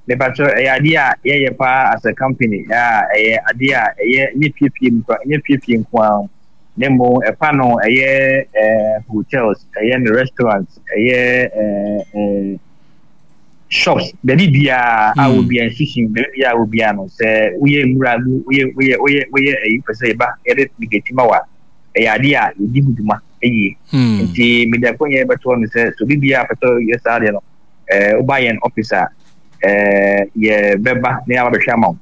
Mepakyɛ ɛyɛ adeɛ a yɛyɛ paa as a company a ɛyɛ adeɛ a ɛyɛ nyɛ fiefie mu kora nyɛ fiefie nko ara na mmom ɛfa no ɛyɛ ɛɛ hotels, ɛyɛ no restaurants, ɛyɛ ɛɛ ɛɛ shops, baabi biara a hmm. obiara institution baabi biara a obiara no sɛ woyɛ nwura mu woyɛ woyɛ woyɛ woyɛ ɛyi pɛ sɛ yɛba yɛde migati ma wa ɛyɛ adeɛ a yɛdi ho dwuma yie hmm. nti mede akɔnyɛ bɛtoɔ no sɛ sɛ obi biara pɛ sɛ yɛ saa adeɛ no ɛɛ woba yɛn office a ɛɛ yɛbɛba na yɛaba bɛhwɛ ama wo.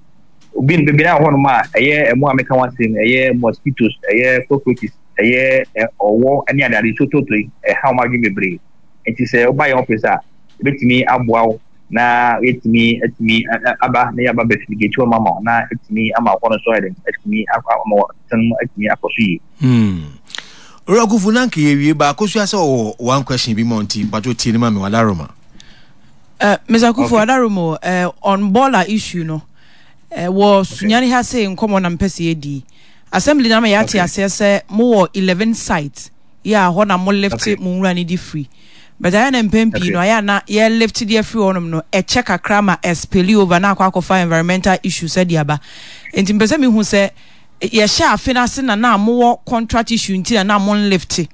Obi bebree na wɔ hɔnom a ɛyɛ ɛmo a meka ho asɛm ɛyɛ mosquitoes, ɛyɛ cockroaches, ɛyɛ ɔwɔ ne adeade nsuo toto yi ɛha wɔn adwene bebree. Nti sɛ woba yɛn office a ebetumi aboa wo na yɛtumi atumi aba na yɛaba bɛ fumigate wɔn ama wo na atumi ama hɔ no nso ayɛ den atumi ama wɔn mu atumi akɔ so yie. Hmm. Owura Kufu na nka yɛwie baako so asɛ ɔwɔ one question bi ma nti mpatwo tie ne ma me wadaroma. Uh, Mr. Kufu okay. Adaromo, uh, on baller issue no, uh, wɔ Sunyani ha sei nkɔmmɔ na mpɛ sɛ yɛdi. Assembly na ma yɛate aseɛ sɛ mowɔ 11 sites yɛ a hɔ na mo lift okay. mo nwura no di free. But ayɛ na mpɛn pii no ayɛ na yɛ lift de afiri hɔnom no ɛkyɛ kakra ma ɛspilli over na akɔ akɔfa environmental issues de aba. Nti mpɛ sɛ mehu sɛ yɛhyɛ afe no ase na na mowɔ contract issue nti na na mo nlift.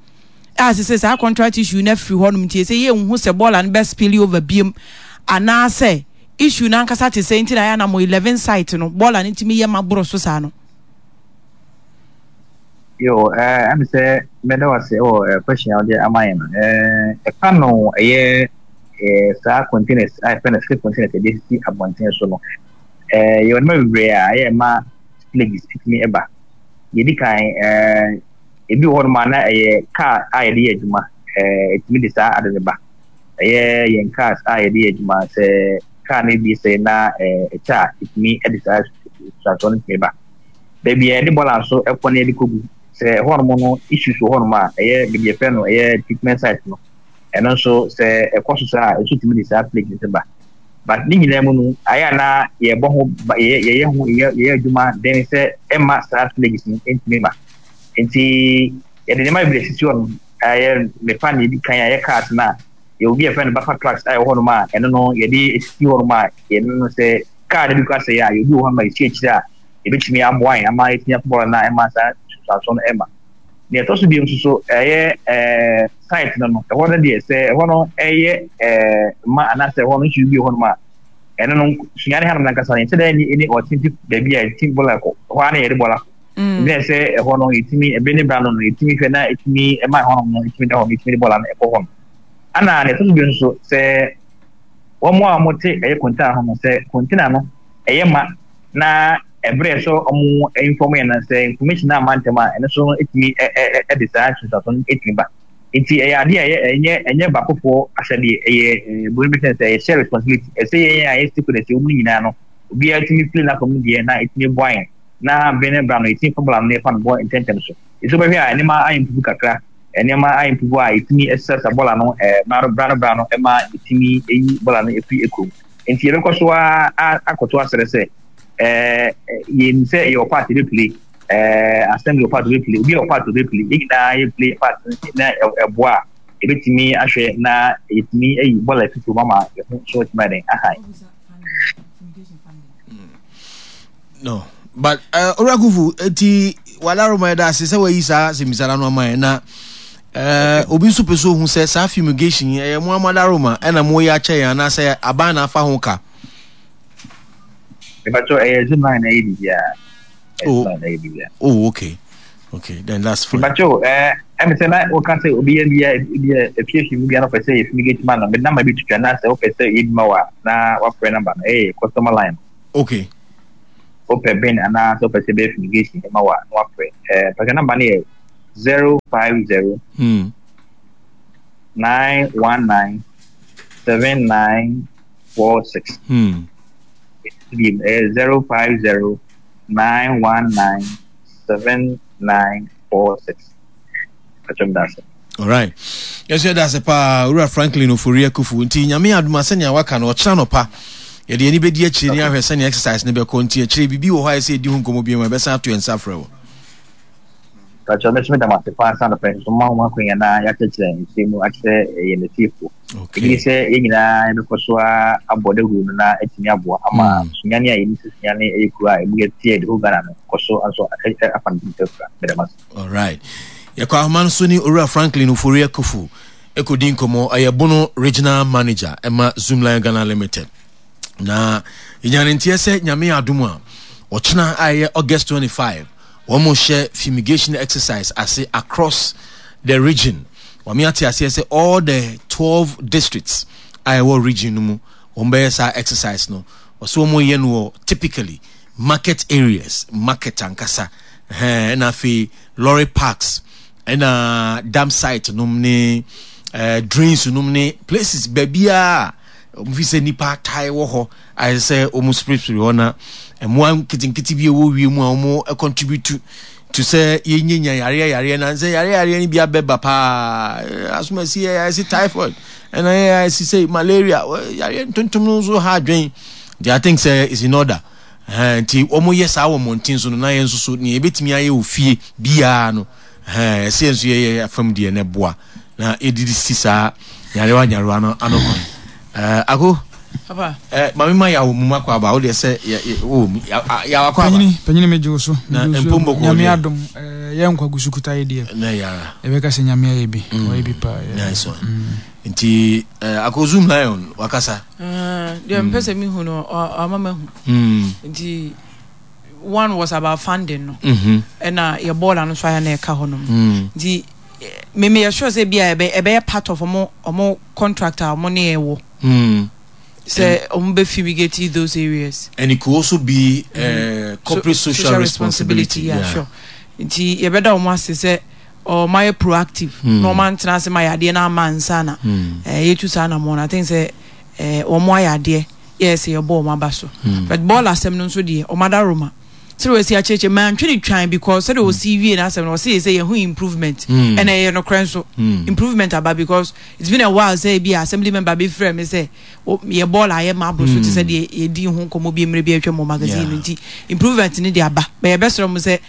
A sesei saa contract issue no afiri hɔnom nti ɛsɛ yɛnhu sɛ bɔɔla no bɛ spill over biom anaasɛ issue no ankasa te sɛn nti na ayɛ a na mo 11 site no bɔɔla no tumi yɛ ma boro so saa no. Yo, eh, ɛm sɛ mɛda wo ase wɔ eh, question a wode ama yɛn no. Eh, ɛfa no ɛyɛ eh, saa containers a yɛfrɛ no slip containers ɛde sisi abɔnten so no. Eh, yɛwɔ nneɛma bebree a ɛyɛ ma spillages tumi ɛba. Deɛ ɛdi kan, eh, Ebi wɔ hɔnom a na ɛyɛ car a yɛde yɛ adwuma, ɛtumi de saa ade no ba. Ɛyɛ yɛn cars a yɛde yɛ adwuma, sɛ car no bi sɛe na ɛkyɛ a, ɛtumi de saa nsunsuansoɔ no tumi ba. Baabi a yɛde bɔɔla nso kɔ na yɛde kɔgu, sɛ ɛhɔnom no issues wɔ hɔnom a, ɛyɛ baabi yɛfrɛ no ɛyɛ treatment site no, ɛno nso sɛ ɛkɔ so saa a, ɛnso tumi de saa plague no ba. But ne nyinaa mu no, ayɛ a na yɛbɔ ho yɛyɛ ho yɛyɛ adwuma den sɛ ɛmma saa plagues no ntumi ma. Nti yɛde nneɛma bebree sisi hɔ nom. Ɛyɛ mefa nea edi kan a ɛyɛ cars no a, yɛwɔ bi a yɛfrɛ no buffer trucks a ɛwɔ hɔ nom a ɛno no yɛde esisi hɔ nom a yɛno no sɛ car no bi kora sɛe a yɛwɔ bi wɔ hɔ nom a yɛsi akyire a yɛbɛtumi aboa yɛn ama yɛatumi akɔ bɔɔla no a ɛma saa nsunsuansoɔ no ɛma. Nea ɛtɔ so bio nso so ɛyɛ ɛɛ site no no ɛhɔ no deɛ sɛ ɛhɔ no ɛyɛ ɛɛ ma anaasɛ ɛhɔ no issue bi wɔ hɔ nom a ɛno no sunyani hanom nankasa no yɛnhyɛ da nni ɛni ɔtente baabi a yɛte bɔɔla kɔ ɛhɔ ara na yɛde bɔɔla kɔ. Ɛbɛyɛ mm. sɛ ɛhɔ no yɛtumi ɛbɛ ne bra no no yɛtumi hwɛ na ɛtumi ɛma ɛhɔ nom no ɛtumi da hɔ no yɛtumi de bɔɔla no ɛkɔ hɔ no ana na ɛtɔ so bi nso sɛ wɔn a wɔte ɛyɛ kɔntena ho no sɛ kɔntena no ɛyɛ ma na ɛbrɛ sɛ wɔn inform yɛn na sɛ information na ama ntɛm a ɛno so ɛtumi ɛde saa nsunsuanso no ɛtumi ba nti ɛyɛ adeɛ a ɛyɛ ɛnyɛ ɛnyɛ baakofoɔ ahyɛdeɛ ɛyɛ ɛɛ bɔnni bi sɛ ɛyɛ share responsibility ɛsɛ yɛn a yɛ stakeholders ɛwɔ mu nyinaa no obiara tumi play n'afɔm deɛ na ɛtumi boa yɛn na bere ne bere ano yɛtumi fa bɔɔla no na yɛfa no bɔ ntɛmntɛm so. Nso wobɛhwɛ a nneɛma ayɛ mpupu kakra, nneɛma ayɛ mpupu a yɛtumi srasra bɔɔla no bra no bra no bra no ma yɛtumi yi bɔɔla no firi kurom. Nti yɛbɛkɔ so ara akɔto asrɛ sɛ yɛnim sɛ yɛwɔ part yɛbɛplay, assembly wɔ part yɛbɛplay, obi a wɔ part yɛbɛplay, yɛn nyinaa yɛplay part na ɛboa a. yɛbɛtumi ahwɛ na yɛtumi ayi bɔɔla afi kurom ama yɛn ho so atumi ayɛ dɛn ahan. No, but uh, Owura eti wadaroma ɛda ase sɛ wayi saa asɛmmisa no ama yɛn na uh, obi nso pɛ sɛ ohu sɛ saa fumigation yi ɛyɛ mo amadaroma ɛna mo yɛ akyɛ yɛn anaasɛ aban na afa ho ka. Mepakyɛ ɛyɛ Zoomline na ɛyɛ biribiara. Oh, oh, okay. Okay, then that's fine. Mepakyɛ o, ɛɛ ɛmi sɛ na wɔka sɛ obi yɛ bia bi a efiefi mu bia na ɔpɛ sɛ yɛ fumigate ma no, mɛ namba bi twitwa na sɛ ɔpɛ sɛ yɛ bi ma wa na wafrɛ namba no, ɛyɛ customer line. Okay. Wopɛ bin anaa sɛ wopɛ sɛ bɛyɛ fumigation ma wa na wafrɛ. Ɛɛ pàṣẹ namba no yɛ 050 919 7946. Bi ɛyɛ 050 919 7946. Pàṣẹ mi ase. Alright. Yɛsɛ yɛda ase paa Owura Franklin Ofori Akufu. Nti Nyame adom a sɛnea waka no ɔkyena nɔpa yɛde ani bɛdi akyire ne ahwɛ sɛnea exercise no bɛkɔ nti akyire biribi wɔ hɔ a ɛsɛ yɛdi ho nkɔmmɔ bio a yɛbɛsan ato yɛn nsa afrɛ wo. Pakyɛ mɛso meda mo ase paa sɛ anɔpa yi nso moma ho akwanya na yɛakyerɛkyerɛ nsɛm mu akyerɛ yɛn atiefo. Ebi ne sɛ yɛn nyinaa yɛbɛkɔ so ara abɔ dawuro no na atumi aboa ama Sunyani a yɛnim sɛ Sunyani yɛ kuro a ɛmu yɛ teɛ the whole Ghana no kɔ so nso afa ne ho afira. Meda mo ase. Alright. Yɛkɔ ahoma no so ne Owura Franklin Ofori Akuffo ɛkɔdi nkɔmmɔ. Ɔyɛ Bono Regional Manager ɛma Zoomlion Ghana Limited. Na yɛnya ne nteɛ sɛ Nyame adom a ɔkyena a ɛyɛ August 25 wɔn hyɛ fumigation exercise ase across the region. Wɔn ate aseɛ sɛ all the 12 districts a ɛwɔ region no mu wɔn bɛyɛ saa exercise no. Wɔsɛ wɔn yɛ no wɔ typically market areas, market ankasa, ɛhɛn, ɛna afei lorry parks, ɛna dam site nom ne eh, drains nom ne places baabiara a wɔn fi sɛ nipa tae wɔ hɔ a ɛsɛ sɛ wɔn spiripiri hɔ na mmoa nketenkete bi a ɛwɔ wiem a wɔn contribute to sɛ yɛnyanya yareɛ yareɛ na sɛ yareɛ yareɛ no bi abɛba paa asomasi yɛ yɛsi typhoid ɛna yɛ yɛsi sɛ malaria yareɛ ntontom no nso ha adwen nti I think sɛ it's in order nti wɔn yɛ saa wɔ mmɔnten so no na yɛn nso so nea yɛbɛtumi ayɛ wɔ fie biara no ɛsɛ yɛn nso yɛyɛ afam deɛ na ɛboa na yɛdidi si saa nyarewa nyarewa no ano kwan ako Eh, maame ma yawo mu makɔ aba wo deɛ sɛ wɔ mu yawo akɔ aba. Panyini panyini me gye wo so. Na mpo mbɔkɔ Nyame adom eh, yɛ nkwa gu so kuta yɛ deɛ. Na yara. Yɛbɛka sɛ Nyame ayɛ bi. Mm. Ɔyɛ bi paa. Nice one. Mm. Nti eh, akɔ zoom lion wakasa. Eh, deɛ mpɛ sɛ mehu no ɔama mahu. Mm. Nti one was about funding no. Mm-hmm. Ɛna yɛ bɔɔla no so ayɛ na ɛka hɔ nom. Mm. Nti me meyɛ sure sɛ bi a ɛbɛyɛ part of ɔmo ɔmo contract a ɔmo ne yɛ wɔ. Mm. Sɛ ɔmo bɛ fumigate those areas. And it could also be uh, mm-hmm. corporate so, social, social responsibility. Yeah, yeah. sure. Nti yɛbɛda ɔmo ase sɛ ɔmo ayɛ proactive. Mm. Na ɔmo antena ase ma yɛ adeɛ na ama nsa na. Mm. Eh, yɛtu saa na mo na I think sɛ eh, ɔmo ayɛ adeɛ yɛ sɛ yɛbɔ ɔmo aba so. Mm. But bɔɔl asɛm no nso deɛ ɔmo ada Roma. Sɛdeɛ wɔasi akyerɛkyerɛ mantwe no twan because sɛdeɛ wɔsi wie n'asɛm no wɔsi sɛ yɛho improvement ɛna ɛyɛ nokorɛ nso improvement aba because it's been a while sɛ ebi assembly member bi frɛ me sɛ yɛ bɔɔl ayɛ ma aboro so te sɛ deɛ yɛdi ho nkɔmmɔ bi mmerɛ bi atwa mu magazine no nti improvement no de aba bɛ yɛbɛsrɛ mo sɛ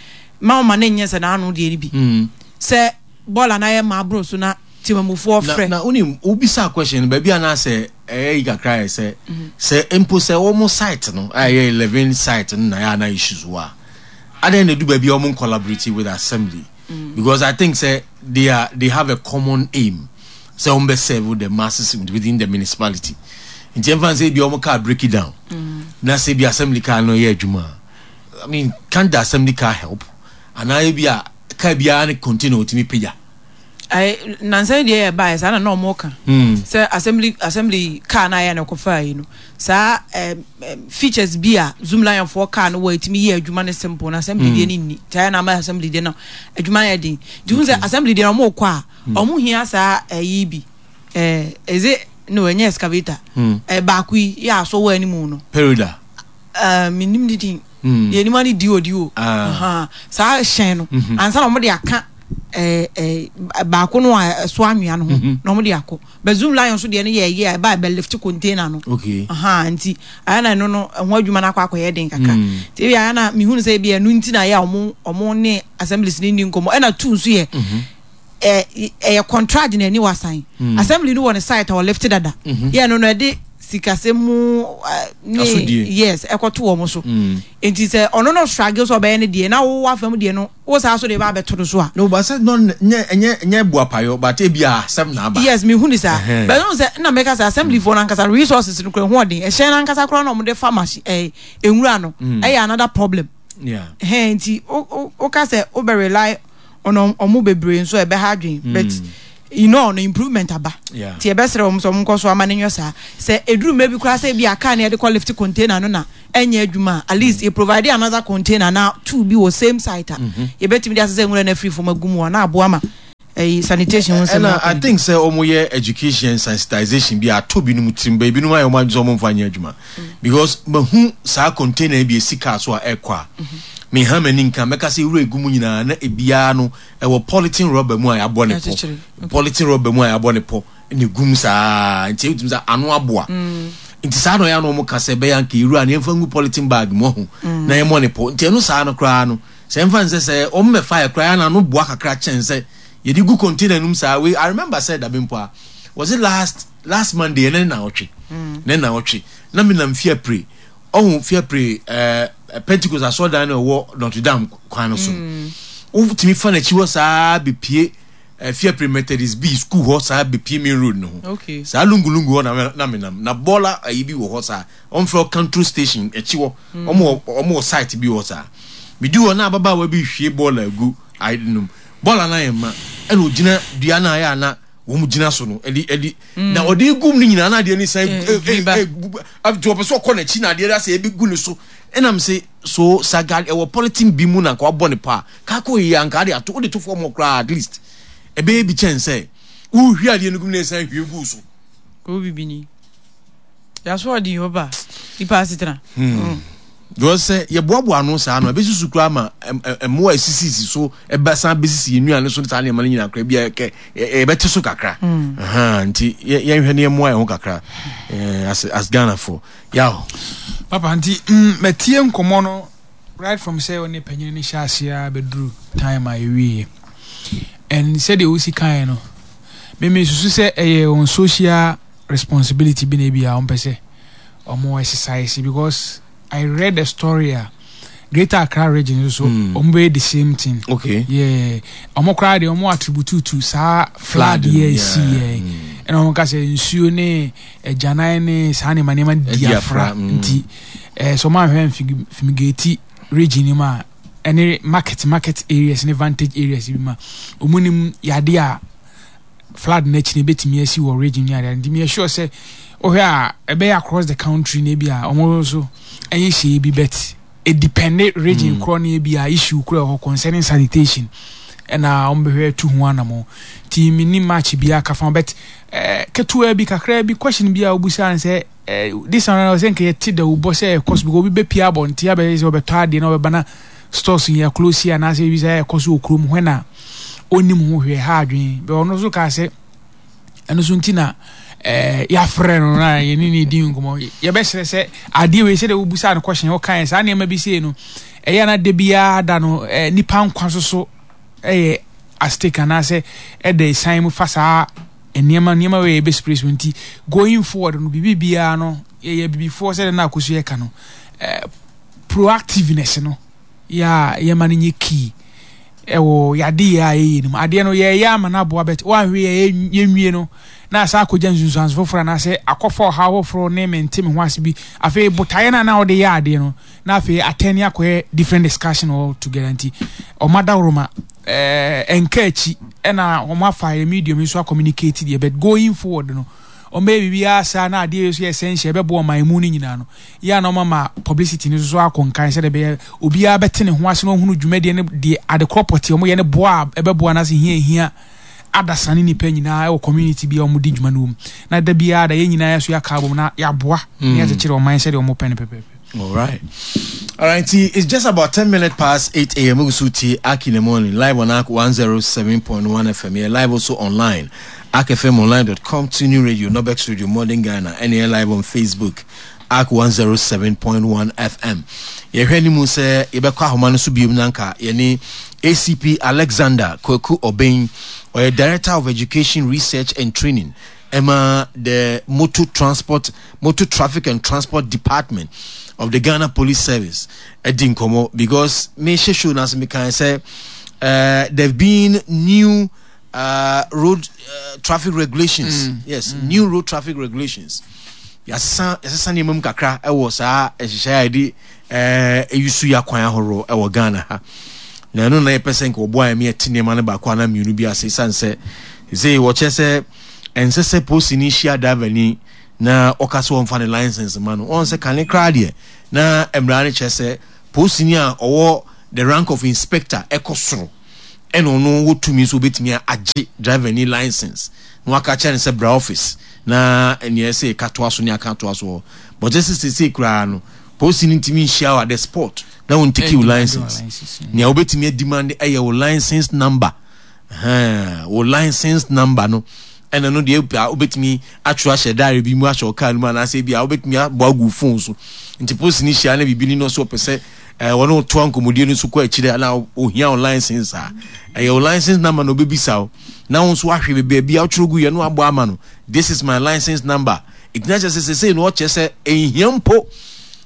ma wɔma no nyɛ sɛ n'ano deɛ no bi sɛ bɔɔl anayɛ ayɛ ma aboro so na temamufoɔ frɛ. Na wonim wobisa question no baabi anaasɛ ɛyɛ yi kakra yɛ sɛ sɛ mpo sɛ wɔn site no a ɛyɛ 11 site no na ɛyɛ ana issues wɔ a adɛn na edu baabi a wɔn collaborate with assembly mm. because I think sɛ they are they have a common aim sɛ wɔn bɛ serve the masses within the municipality nti ɛnfa sɛ ebi wɔn car break it down mm. na sɛ ebi assembly car no yɛ adwuma I mean can the assembly car help anaa ebi a car biara ne container otumi pagya. Ayi nansa yi deɛ yɛ baayɛ saa na na wɔn ka hmm. sɛ assembly assembly car na ayɛ na ɛkɔfa yi no saa ɛɛ features bi a zoom lion foɔ car no wɔ etimi yɛ adwuma no simple na assembly deɛ hmm. ne nni te ayɛ na ama assembly deɛ no adwuma yɛ den nti hun sɛ assembly deɛ no wɔn kɔ a hmm. wɔn hia saa ɛyi bi ɛɛ ɛdze no ɛnyɛ excavator ɛɛ baako yi yɛ asɔ wɔ anim no. Perida. Ɛɛ menim ne din. Deɛ anim ani di odi o. Ah. Saa hyɛn no. Mhm. Ansa na wɔn de aka ɛɛ ɛɛ baako no a ɛso anwea no ho mhm. na wɔn de akɔ. But Zoom Lion so deɛ no yɛ ɛyɛ a ɛba ɛbɛ lift container no. Okay. Nti ayɛ na ɛno no ɛho adwuma no akɔ akɔyɛ den kakra. Mm. Nti ebi ayɛ na mihunu sɛ ebi ɛno nti na ayɛ a wɔn wɔn ne assemblies ne ni nkɔmɔ ɛna tu nso yɛ. Mhm. Ɛyɛ contract na ɛni wasan. Assembly no wɔ ne site a ɔlift dada. Yɛ no no ɛde sikasɛm mu ne yes ɛkɔto wɔn so. Nti sɛ ɔno no struggle sɛ ɔbɛyɛ ne deɛ na wo afa mu deɛ no wo saa so de ba abɛto no so a. No but sɛ no nyɛ ɛnyɛ ɛnyɛ buapayɔ but ebi a asɛm na aba. Yes mehu ne saa. But no sɛ na mɛka sɛ assembly foɔ no ankasa resources no kura ho ɔden ɛhyɛn no ankasa koraa na wɔde fa machine ɛɛ nwura no ɛyɛ another problem. Yeah. Ɛhɛn nti wo wo ka sɛ wo bɛ rely on ɔmo bebree nso ɛbɛha adwene mm. but you know no improvement aba nti ɛbɛsrɛ wɔn sɛ wɔn nkɔ so ama ne nyɛ saa sɛ eduru mmerɛ bi koraa sɛ ebi a car ne yɛde kɔ lift container no na ɛnyɛ adwuma at least yɛ provide another container na two bi wɔ same site a mm-hmm. yɛbɛtumi de asesɛ nwura no afiri fam agu mu a na aboa ma ɛyi sanitation ho nsɛm. Ɛna I think sɛ wɔn yɛ education sensitization bi ato binom tirim bɛ ebinom ayɛ wɔn adwene sɛ wɔn nfa nyɛ adwuma because mahu saa container bi esi car so a ɛkɔ a meha m'ani nka mɛka sɛ wura egu mu nyinaa na ebiara no ɛwɔ polythene rubber mu a yɛabɔ ne pɔ polythene rubber mu a yɛabɔ ne pɔ na egu mu saa nti ebitumi sɛ ano aboa mm. nti saa na ɔyɛ ano wɔn ka sɛ ɛbɛyɛ anka ewura no yɛnfa ngu polythene bag mu ɔho mm. na yɛmmɔ ne pɔ nti ɛno saa no koraa no sɛ nfa nsɛ sɛ wɔn mɛfa yɛ koraa na ano boa kakra kyɛn sɛ yɛde gu container no mu saa wei I remember sɛ dabi mpo a was it last last Monday ɛnɛ na ɔtwe mm. ne na ɔtwe na mi nam fiapre ɔho fiapre ɛɛ eh, Pentecost asɔrɔdan na ɛwɔ Notre Dame kwan no so mm. wotumi fa n'akyi hɔ saa bepie eh, fiapre Methodist bi school hɔ saa bepie main road no ho saa lungulungu hɔ na na mi nam na bɔɔla ayi bi wɔ hɔ saa wɔn fɛ station akyi hɔ wɔn wɔ wɔn wɔ site bi wɔ saa mi di hɔ na ababaawa bi hwie bɔɔla egu ayi nom bɔɔla na yɛ mma ɛna ogyina dua na ayɛ ana wɔn gyina so no ɛde ɛde mm. na ɔde gum no nyinaa na adeɛ no san nti ɔpɛ sɛ ɔkɔ n'akyi na adeɛ no asɛ ebi gu ne so ɛnam sɛ so saga ɛwɔ polythene bi mu na nka wabɔ ne pa kako yi anka ade ato wode to fam hɔ koraa at least ɛbɛyɛ bi kyɛn sɛ wohwie adeɛ no gum na ɛsan hwie gu so. Kò bibini yaso ɔde yɛ ɔba nipa asetena. Hmm. hmm. Because sɛ yɛboaboa ano saa no, ɛbɛsusu koraa ma mmoa a ɛsisisisi so ɛbɛsan bɛsisi yɛn nnuane so ne saa nneɛma no nyinaa koraa bi a yɛbɛte so kakra. Hmm. Nti yɛnhwɛ ne yɛmmoa yɛn ho kakra eh, as, as Ghanafoɔ. Yaw. Papa nti mm, matie nkɔmmɔ no right from sɛ ɔne panyin no hyɛ aseɛ a bɛduru time a yɛwieɛ and sɛdeɛ wosi kaeɛ no meme susu sɛ ɛyɛ on social responsibility bi na ebi a wɔmpɛ sɛ ɔmo exercise because I read a story a Greater Accra region nso so hmm. ɔmo bɛyɛ the same thing. Okay. Yeah. Ɔmo koraa deɛ ɔmo attribute to saa flood yɛ esi yɛ. Hmm. Ɛna ɔmo ka sɛ nsuo ne agyanan ne saa nneɛma nneɛma di afra hmm. nti ɛɛ sɛ ɔmo ahwɛ fumigate region no mu a ɛne market market areas ne vantage areas bi ma ɔmo nim yadeɛ a flood no akyi no ebetumi asi wɔ region ne adeade nti meyɛ sure sɛ wohwɛ a ɛbɛyɛ across the country na ebi a wɔn nso ɛnyɛ hyɛ bi but edepende region mm. korɔ ne ebi a issue korɔ ɛwɔ concerning sanitation ɛna wɔn bɛhwɛ tu ho anamɔ nti mi ni match bi aka fa but ɛɛ eh, ketewa bi kakra bi question bi a obusa sɛ eh, this one sɛ nka yɛte dawubɔ sɛ ɛkɔ so because obi bɛpie abɔnten abɛyɛ sɛ ɔbɛtɔ adeɛ na ɔbɛba na stores yɛ close anaasɛ ebi sɛ ɛkɔ so wɔ kurom hɔ na ɔnim ho hwee ha adwene bɛ ɔno nso kaa sɛ ɛno so nti na eh, yɛafrɛ no na yɛne ne di nkɔmmɔ yɛbɛsrɛ sɛ adeɛ wei sɛdeɛ wobusaa no kɔhyɛn wokaeɛ saa nneɛma bi sei no ɛyɛ na da biara da no eh, nipa nkwa so so ɛyɛ astake anaasɛ ɛda ɛsan mu fa saa nneɛma nneɛma wei yɛbɛspray so nti going forward no biribi biara no yɛyɛ bibifoɔ sɛdeɛ na akɔsu yɛka no eh, proactiveness no yɛ a yɛma no nyɛ key ɛwɔ yɛadeyɛ a yɛyɛ no mu. Adeɛ no yɛyɛ ama no aboa but woanhwɛ yɛ yɛnwie no na asa akɔgya nsunsuanso foforɔ anaasɛ akɔfa ɔhaw foforɔ ne mente me ho ase bi. Afei botaeɛ no a na wode yɛ adeɛ no na afei atɛne akɔyɛ different discussion all together nti ɔma dawuroma ɛnka akyi ɛna wɔn afa yɛ medium nso acommunicate deɛ but going forward no wɔn bɛyɛ biribiara saa na adeɛ yɛ so yɛ essential ɛbɛboa ɔman mu no nyinaa no yɛ a na wɔama publicity no nso akɔ nkan sɛdeɛ ɛbɛyɛ obiara bɛte ne ho ase na ɔhunu dwumadie no deɛ adekorɔ pɔtee wɔyɛ no boa a ɛbɛboa no ase hia hia adasa ne nipa nyinaa ɛwɔ community bi a wɔdi dwuma no wɔ mu na da biara da yɛn nyinaa yɛso yɛaka abom na yɛaboa na mm. yɛakyekyere ɔman sɛdeɛ wɔpɛ no pɛpɛpɛ. All right. All right. It's just about 10 minutes past 8 a.m. Usuti Aki in the morning, live on ARC 107.1 FM. Yeah, live also online. ArcFMOnline.com, Tuning Radio, Nobex Radio, Modern Ghana, and here live on Facebook, Arc 107.1 FM. Yɛhwɛ anim sɛ yɛbɛkɔ ahoma no so biom na nka yɛne ACP Alexander Kwaku Obeng Ɔyɛ Director of Education, Research and Training ɛma the Motor Transport, Motor Traffic and Transport Department of the Ghana Police Service ɛdi nkɔmɔ because mehyɛ show no ase mekan sɛ uh, there have been new uh, road uh, traffic regulations. Mm. Yes, mm. new road traffic regulations. Yɛasesa yɛasesa nneɛma mu kakra ɛwɔ saa nhyehyɛe a yɛde ɛɛ eyi so yɛ akwan ahorow ɛwɔ Ghana ha. Na ɛno na yɛpɛ sɛ nka wɔboa yɛn ma yɛte nneɛma no baako anaa mmienu bi ase esiane sɛ sɛ wɔkyerɛ sɛ ɛnsɛ sɛ polisini hyia driverni na ɔka sɛ wɔmfa ne license ma no. Wɔn sɛ kane koraa deɛ na mmara no kyerɛ sɛ polisini a ɔwɔ the rank of inspector ɛkɔ soro ɛna ɔno wɔ tumi nso obetumi agye driverni license na waka kyerɛ no sɛ bra office na nea ɛsɛ yɛka toa so ne aka toa so hɔ. But ɛsɛ sɛ koraa no polisini ntumi nhyia wo at the spot na wɔn take wo license. Nea wobɛtumi ademand ɛyɛ wo license number. Wo license number no ɛna no deɛ a wobɛtumi atwerɛ ahyɛ diary bi mu ahyɛ wo car no mu anaasɛ bi a wobɛtumi abɔ agu phone so. Nti polisini hyia na biribi ni no so ɔpɛ sɛ ɛɛ wɔne wo toa nkɔmmɔdie no so kɔ akyire na ohia wo license a ɛyɛ wo license number na obɛbisa wo na wo nso wahwɛ baabi a wotwerɛ gu yɛ no abɔ ama no this is my license number. Ɛgyina kyerɛ sɛ sesei no ɔkyerɛ sɛ ɛnhia mpo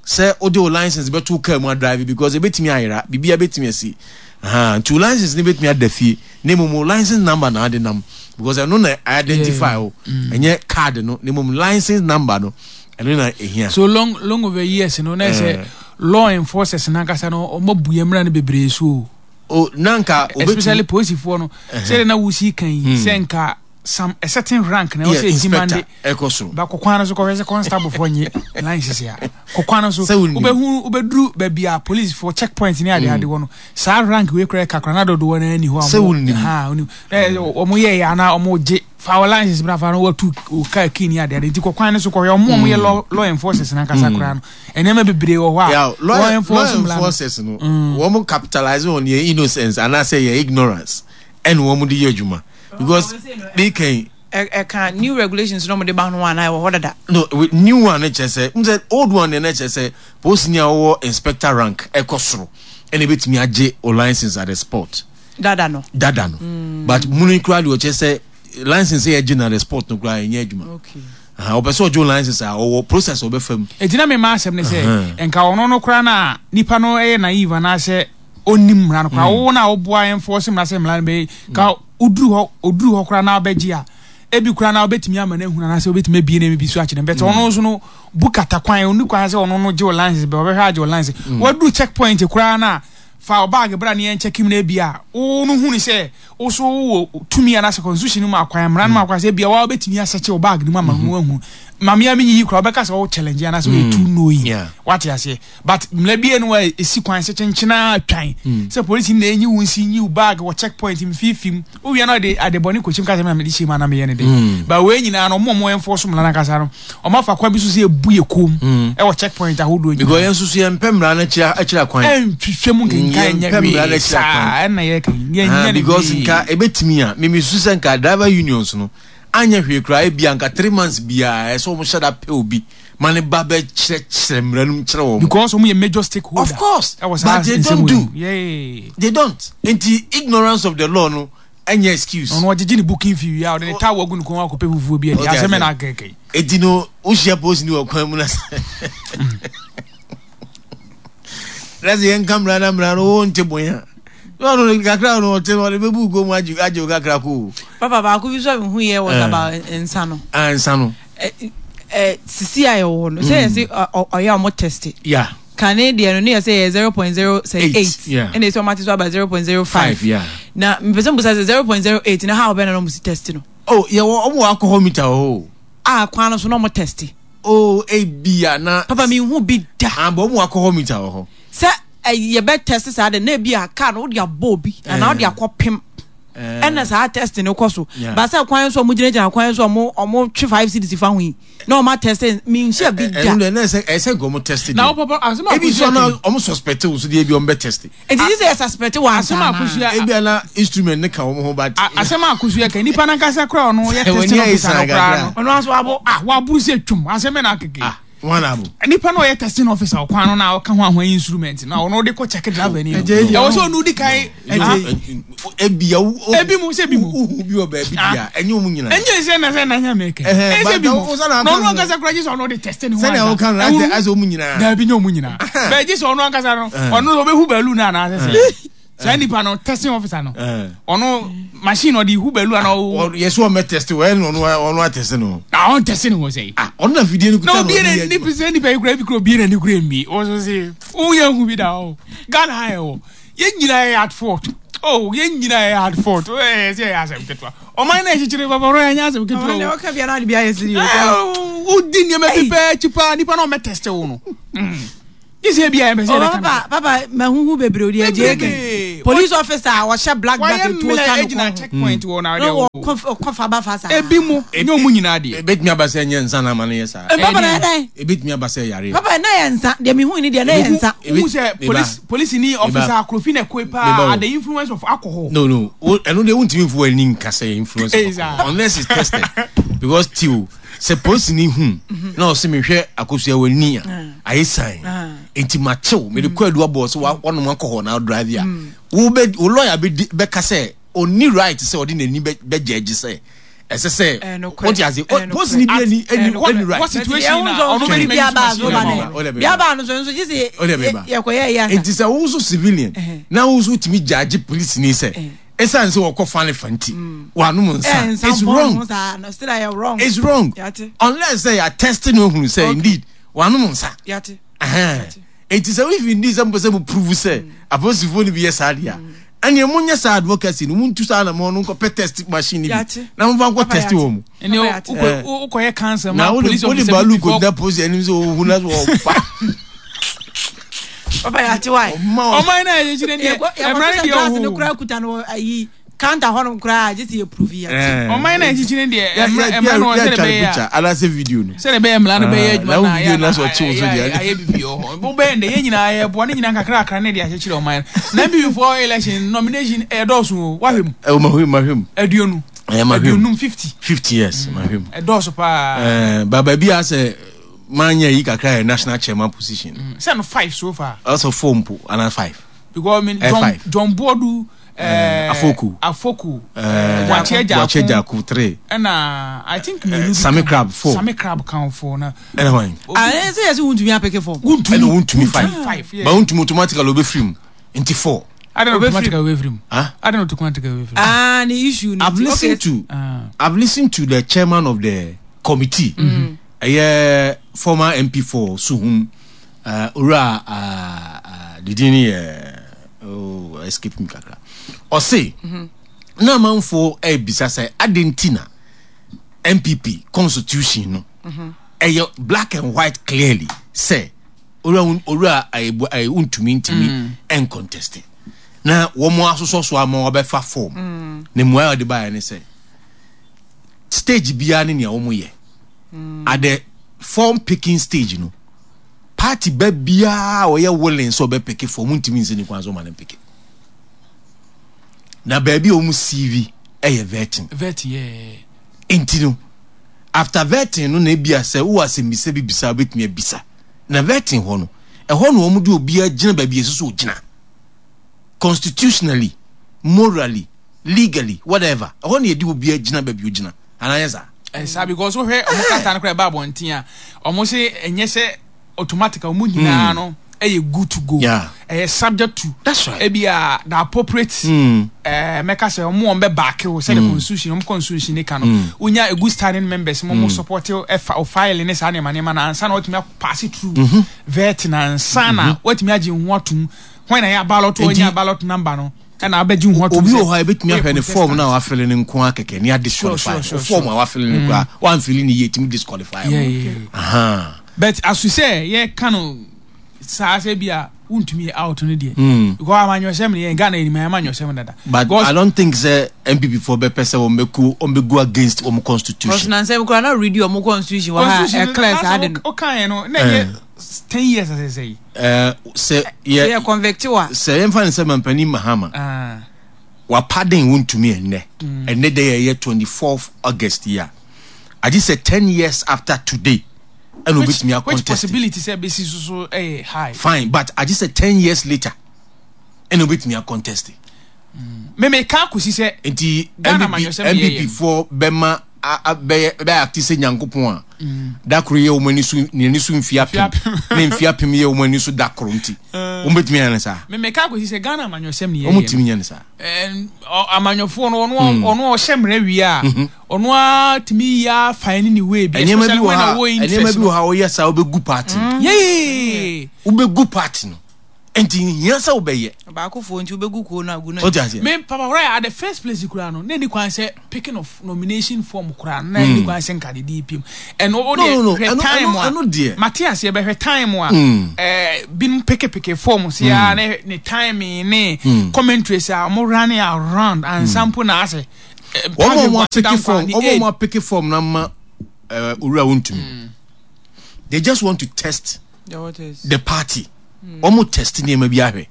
sɛ wode wo license bɛto wo car mu adrive because ɛbɛtumi ayera, biribiara bɛtumi asi. Aha, nti wo license no bɛtumi ada fie na mmom wo license number na ade nam because ɛno na identify wo, mm. ɛnyɛ card no, na mmom license number no ɛno na ɛhia. So long long over years no na ɛsɛ eh. law enforcers nankasa no ɔmo bu yɛn mmara no bebree so o. O nanka especially polisifoɔ no sɛdeɛ na wosi kan yi hmm. sɛ nka some a certain rank na ɛwɔ sɛ ɛtima de ɛkɔ soro ba kɔkwan no so kɔhwɛ sɛ constable foɔ nye line sisi a kɔkwan no so wobɛhu wobɛduru baabi a police foɔ check point ne ade ade wɔ no saa rank wei koraa kakra na dodoɔ no ani hɔ a wɔn ha wɔn wɔn yɛ yɛ anaa wɔn gye fa wɔ line sisi fa no wɔtu kaa kii ne ade ade nti kɔkwan no so kɔhwɛ wɔn wɔn yɛ law law enforcers nankasa mm. koraa no nneɛma bebree wɔ hɔ a law enforcers no mm. wɔn capitalize on yɛ innocence anaasɛ yɛ ignorance ɛna wɔn de yɛ adwuma because they can. ɛka new regulations na wɔde ba ho anaa ɛwɔ hɔ dada. no new one no kyerɛ sɛ n sɛ old one no kyerɛ sɛ polisini a ɔwɔ inspector rank ɛkɔ soro ɛna ebetumi agye o license at the spot. Dada no. Dada no mm. but muni kura deɛ ɔkyerɛ sɛ license yɛ gye na the spot no kura ɛnyɛ adwuma. Okay. Ɔpɛ sɛ ɔgye o license a ɔwɔ process ɔbɛfa mu. Eti na mi maa asɛm ne sɛ nka ɔno no kura na nipa no ɛyɛ naive anaasɛ ɔnnim mmara no koraa mm. wo na woboa enforce mmara sɛ mmara no bɛyɛ ka woduru hɔ oduru hɔ koraa na wobɛgye a ebi koraa na wobɛtumi ama no ahunu anaasɛ wobɛtumi abie no bi so akyerɛ no bɛtɛ ɔno nso no bu kata kwan ɔni kwan sɛ ɔno no gye wo license bɛ ɔbɛhwɛ agye wo license mm. waduru check point koraa na fa ɔbaage bra ne yɛn check mu no ebi a wo no hunu sɛ wo so wɔ tumi anaasɛ constitution no mu akwan mmara no mu akwan sɛ ebi a wa wobɛtumi asɛkye wo baage no mu ama no mm-hmm. ahunu maame a menyiyi koraa wobɛka sɛ wo challenge anaasɛ woyɛ too knowing wate aseɛ But mmara bi enu a esi kwan sɛ kyenkyen ara twan hmm. sɛ polisi na enyi wo nsi nyi wo bag wɔ check point mfimfim wowia na ɔde ade bɔne kɔkyim ka sɛ na mede hyɛ mu ana meyɛ ne de hmm. but wei nyinaa no ɔmo ɔmo enforce mmara no ankasa no ɔmo afa kwan bi so sɛ ebu yɛ kom hmm. ɛwɔ check point ahodoɔ nyinaa because yɛn nso so yɛn mpɛ mmara no akyerɛ akyerɛ kwan ɛntwitwa mu nkenkan nyɛ hwee saa ɛna yɛ kan yɛn nyɛ ne because nka ebetumi a mimi su sɛ nka driver unions no anyɛ hwee koraa ebi anka 3 months biara ɛsɛ wɔn hyɛ da pɛ obi ma ne ba bɛ kyerɛkyerɛ mmara no mu kyerɛ wɔn. Because wɔn yɛ major stakeholder. Of course, but they don't do. Yeah. They don't. Nti ignorance of the law no ɛnyɛ excuse. Ɔno ɔgyegye ne booking fee wia ɔde ne towel agu ne kɔn akɔpɛ fufuo bi adi asɛm na akɛkɛ. Eti no wohyia post ni wɔ kwan mu na sɛ na sɛ yɛnka mmara na mmara no wo nte bonya. Na ɔno no kakra no ɔte no ɔde bɛbu kɔn mu agye agye wo kakra ko. Papa baako bi so a mehu yɛ was about nsa no. Ah nsa no. Ɛ sisi a yɛwɔ hɔ no sɛ yɛsɛ ɔyɛ a ɔmo test. Yeah. Kane deɛ no ne yɛ sɛ yɛ 0.0 sɛ 8 ɛna ɛsɛ ɔmo ate so aba 0.05. Na mpɛ sɛ mbusa sɛ 0.08 na how bɛn na ɔmo si test no. Oh yɛwɔ ɔmo wɔ alcohol meter wɔ hɔ o. A kwan no so na ɔmo test. Oh ebia na. Papa mi nhu bi da. Ah but ɔmo wɔ alcohol meter wɔ hɔ. Sɛ yɛbɛ test saa de na ebi a car no wode abɔ obi anaa wode akɔ pem. Ɛna saa test no kɔ so. Ba sɛ kwan so ɔmo gyinagyina kwan so ɔmo ɔmo twe 5 cedis fa ho yi na ɔmo atest mi nhyɛ bi da. Ɛno deɛ na ɛsɛ ɛsɛ nka ɔmo test deɛ. Na ɔpapa asɛm a Ebi so na ɔmo suspect wo so deɛ ebi ɔmo bɛ test. Nti gye sɛ yɛ suspect wɔ ansa Asɛm a Akosua. Ebi a na instrument ne ka wɔn ho but. Asɛm a Akosua ka nipa nankasa koraa ɔno yɛ testing officer no koraa no. Ɔno nso wabo. Ah waburu sɛ twum asɛm bɛ na akeke. Ah. Wɔn abo. Nipa na ɔyɛ testing officer ɔkwan no na ɔka ho ahoa instrument na ɔno de kɔ check driver ni. Ɛwɔ sɛ ɔno di kan. Ebi ya ebi mu sɛ ebi mu. Uhu bi wɔ baabi di a ɛnyɛ ɔmo nyinaa. Ɛnyɛ sɛ na sɛ na nyɛ mɛkɛ. Ɛnyɛ sɛ ebi mu. Na ɔno ankasa kura gye sɛ ɔno de test ne ho ansa. Sɛnea ɔka no asɛ ɔmo nyinaa. Daabi nyɛ ɔmo nyinaa. Bɛɛ gye sɛ ɔno ankasa no ɔno ɔbɛhu baalu no anaasɛ sɛ. Saa nipa no testing officer no ɔno machine ɔde hu baalu ana ɔwɔ. Yɛ sɛ ɔmɛ test wɔ ɛna ɔno ɔno atɛse no. Na ɔn test ne ho sɛ. Ah ɔno na fidie no kuta no. Na obi na nipa sɛ nipa yi kura ebi kura obi na ne kura mbi ɔso se woyɛ hu bi da o Ghana ha yɛ wɔ yɛn nyinaa yɛ at fault oh yɛn nyinaa yɛ at fault ɛyɛ sɛ yɛ asɛm ketewa ɔman na ɛkyekyere papa ɔno yɛ asɛm ketewa o. Ɔman na ɔka bi anaa de bi ayɛ siri o. Wodi nneɛma bi pɛɛ akyi paa nipa na ɔmɛ test wo no. Gye sɛ ebia yɛmpɛ sɛ yɛbɛka no. Papa papa mahuhu bebree odi agye eke. Police officer a ɔhyɛ black black etuo sa no kɔn ho. Checkpoint wɔ na ɔde wɔ. Ɔkɔ fa ba fa saa. Ebi mu nyɛ ɔmo nyinaa deɛ. Ebetumi aba sɛ ɛnyɛ nsa na ama no yɛ saa. Papa na yɛ dɛn? Ebetumi aba sɛ yareɛ. Papa na yɛ nsa deɛ mehu ni deɛ na yɛ nsa. Wohu sɛ police police ni officer akorofi na ɛkɔe paa at the influence of alcohol. No no ɛno deɛ wontumi nfo w'ani nka sɛ influence of alcohol unless it's tested because till sɛ polisini hu na ɔse mehwɛ akosua w'ani a ayɛ san nti makyew mede kɔ adu abɔ sɛ wanom alcohol na drive a wo bɛ wo lawyer bɛdi bɛka sɛ ɔnni right sɛ ɔde n'ani bɛgyɛgye sɛ ɛsɛ sɛ wote ase polisini bi ani ani ani right what situation na ɔno bɛ bi aba so ba ne bi aba no so nso gye sɛ yɛkɔyɛ yɛ nti sɛ wo nso civilian na wo nso wotumi gyagye polisini sɛ Esiane sɛ wɔkɔ fa ne fa nti, wɔanom nsa. It's wrong. It's wrong. Unless sɛ yɛ test no ehunu sɛ indeed wɔanom nsa. Eti sɛ if indeed sɛ mo pɛ sɛ mo prove sɛ apolisifoɔ no bi yɛ saa deɛ a, ɛnneɛ mo nyɛ saa advocacy no, mo ntu saa na mo no nkɔ pɛ test machine no bi na mo fa nkɔ test wɔn mu. Ɛnneɛ wokɔyɛ cancer ma police officer bi before. Na wode baalu kɔgyina polisi anim sɛ ohun na sɛ ɔba. Papa yɛ ate wae. Ɔman na yɛ kyerɛ deɛ ɛmra ne deɛ ɔho. No kura kuta no ayi counter hɔ nom kura gye sɛ yɛ prove yɛ. Ɔman na yɛ kyerɛ deɛ ɛmra ɛmra no sɛ bɛyɛ a. Anase video no. Sɛ bɛyɛ mmra no bɛyɛ adwuma na ayɛ na ayɛ bibi wɔ hɔ. Bo bɛyɛ ndɛ yɛ nyinaa yɛ boa ne nyinaa kakra kakra ne de akyekyere ɔman no. Na NPP foɔ election nomination ɛdɔɔso o wahwɛ mu. Ɛwɔ mahwɛ mu mahwɛ mu. Aduonu. Ɛyɛ mahwɛ mu. Aduonum 50. 50 years mahwɛ mu. Ɛdɔɔso paa. Ɛɛ ba baabi a sɛ manya yi kakra yɛ national chairman position. Mm, sɛ no five so far. Also four mpo ana five. Because I mean eh, John five. John Boadu. Eh, Afoku. Afoku. Eh, Wache Jaku. Wache Jaku three. Ɛna I think mmienu bi. Sami Crab four. Sami Crab kan four na. Ɛna hwan. Ah, ɛna sɛ yɛsɛ wuntumi apeke four. Wuntumi. Ɛna wuntumi five. Five. Yeah. Ba wuntumi automatically obe firi mu nti four. Adan automatically obe firi mu. Ah. Adan automatically obe firi mu. Ah, ni issue ni. I've listened to. I've listened to the chairman of the committee. Mm -hmm. Ɛyɛ former MP for Suhum, Owura ne din yɛ oh, escape me kakra. Ɔse, mhm. na amanfoɔ ɛrebisa sɛ adɛn nti na NPP constitution no mhm. ɛyɛ black and white clearly sɛ owura owura ntumi ntumi mm. ɛncontest na wɔn asosɔ so ama wɔbɛfa form mm. na mmuaeɛ a wɔde baeɛ ne sɛ stage biara ne nea wɔn yɛ mm. at the form picking stage no party ba biara a ɔyɛ willing sɛ ɔbɛ peke form ntumi nsi ne kwan so ɔma ne peke na baabi a wɔn cv ɛyɛ vetting vetting yeah. nti no after vetting no na ebi asɛ wowɔ asɛmbisa bi bisa wobɛtumi abisa na vetting hɔ no ɛhɔ na wɔn de obiara gyina baabi ɛsɛ sɛ ogyina constitutionally morally legally whatever ɛhɔ na yɛde obiara gyina baabi ogyina anaa yɛ saa. Ɛsaa because wohwɛ ɔmo krataa no koraa ɛba abɔnten a ɔmo se ɛnyɛ sɛ automatic a ɔmo nyinaa hmm. no ɛyɛ good to go yeah. ɛyɛ subject to that's right ebi a the appropriate mm. ɛɛ mɛka sɛ ɔmo wɔn bɛ baake o sɛ the mm. constitution ɔmo constitution ne ka no mm. wonya a good standing members mo mo mm. support ɛfa o file ne saa nneɛma nneɛma na ansa na wɔtumi pass it through mm -hmm. vet na ansa na mm-hmm. wɔtumi agye ho atum wɔn na yɛ ballot wɔnya ballot number no. Ɛna abɛgye ho atom Obi wɔ hɔ a ebetumi ahwɛ ne form no a wafele no nko ara kɛkɛ ne adisqualify no. Form a wafele no koraa mm. wamfele no yie etumi disqualify wo. But aso sɛ yɛka no saa sɛ bi a wontumi yɛ out no deɛ. Mm. Because amanyɔsɛm no yɛn Ghana yɛnim amanyɔsɛm dada. But I don't think sɛ NPP foɔ bɛpɛ sɛ wɔn bɛku wɔn bɛgu against wɔn constitution. Ɔsena nsɛm koraa na read wɔn constitution wɔ ha ɛclear saa de no. Ɔka yɛn no na ɛyɛ 10 years asɛsɛ yi. Eh, sɛ yɛ yɛ convict wa. Sɛ yɛmfa no sɛ mampanin Mahama ah. wapaden wontumi ɛnnɛ mm. ɛnnɛ dɛ yɛyɛ 24th August yi a agye sɛ 10 years after today. ɛna obetumi Which akɔntest. possibility sɛ bɛsi so so ɛyɛ high. Fine, but agye sɛ 10 years later ɛna obetumi akɔntest. Meme ka akɔsi sɛ Nti Ghana NPP amanyɔsɛm yɛ NPP foɔ bɛma bɛyɛ bɛyɛ ate sɛ Nyankopɔn a da koro yɛ wɔn ani so n'ani so mfie 1000 ne mfie 1000 yɛ wɔn ani so da koro, nti wɔn bɛtumi ayɛ no saa. Meme ka akɔsi sɛ Ghana amanyɔsɛm ne Wɔn yɛyɛ tumi nyɛ no saa. Amanyɔfoɔ no, ɔno ɔhyɛ mmerɛ wie a, ɔno ara tumi yi afa ne way bi, Nneɛma bi especially wɔ when ha ɔwɔ nneɛma interest bi no. wɔ ha, wɔyɛ saa, wobɛgu party no. Wobɛgu party no, nti hia sɛ wobɛyɛ. Baakofoɔ nti wobɛgu kuo no agu no. Wote aseɛ? Me papa right at the first place kura no, na ni kwan sɛ picking of nomination form kura na ni kwan sɛ nka de di pim ɛno o. No, no, no, Deɛ hwɛ ɛno- time ɛno- a ɛno deɛ. Mate aseɛ, bɛhwɛ time a binom peke form si a ne timing ne commentaries a wɔn running around ansa mpo na asɛ Wɔn a wɔn apick form, wɔn a wɔn apick form na ma owura Wontumi, they just want to test The waters. the party. Wɔn test nneɛma bi ahwɛ,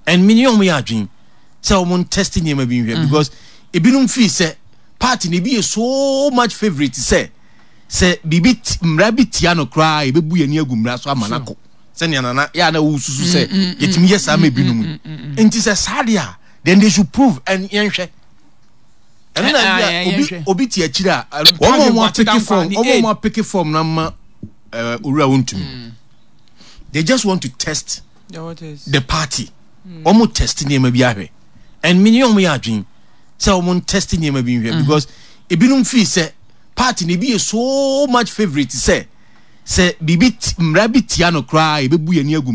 and mi ni wɔn yɛ adwene sɛ wɔn test nneɛma bi nhwɛ, because ebinom fi sɛ party na ebi yɛ so much favourite sɛ biribi mmara bi tia no koraa, ebebu yɛn ani agu mmara so ama n'akɔ sɛnea nana yɛ a na wɔsusu sɛ yɛtumi yɛ saa ma ebinom. Nti sɛ saa deɛ a, then they should prove and yɛnhwɛ ɛno na Eh, bi ah, a obi yɛnhwɛ. obi te akyire a wɔn a wɔn apick form, wɔn a wɔn apick form na ma owura Wontumi, they just want to test The waters. the party. Wɔn test nneɛma bi ahwɛ, and mi ni wɔn yɛ adwene sɛ wɔn test nneɛma bi nhwɛ, because ebinom fi sɛ party na ebi yɛ so much favourite sɛ biribi mmara bi tia no koraa, ebebu yɛn ani agu.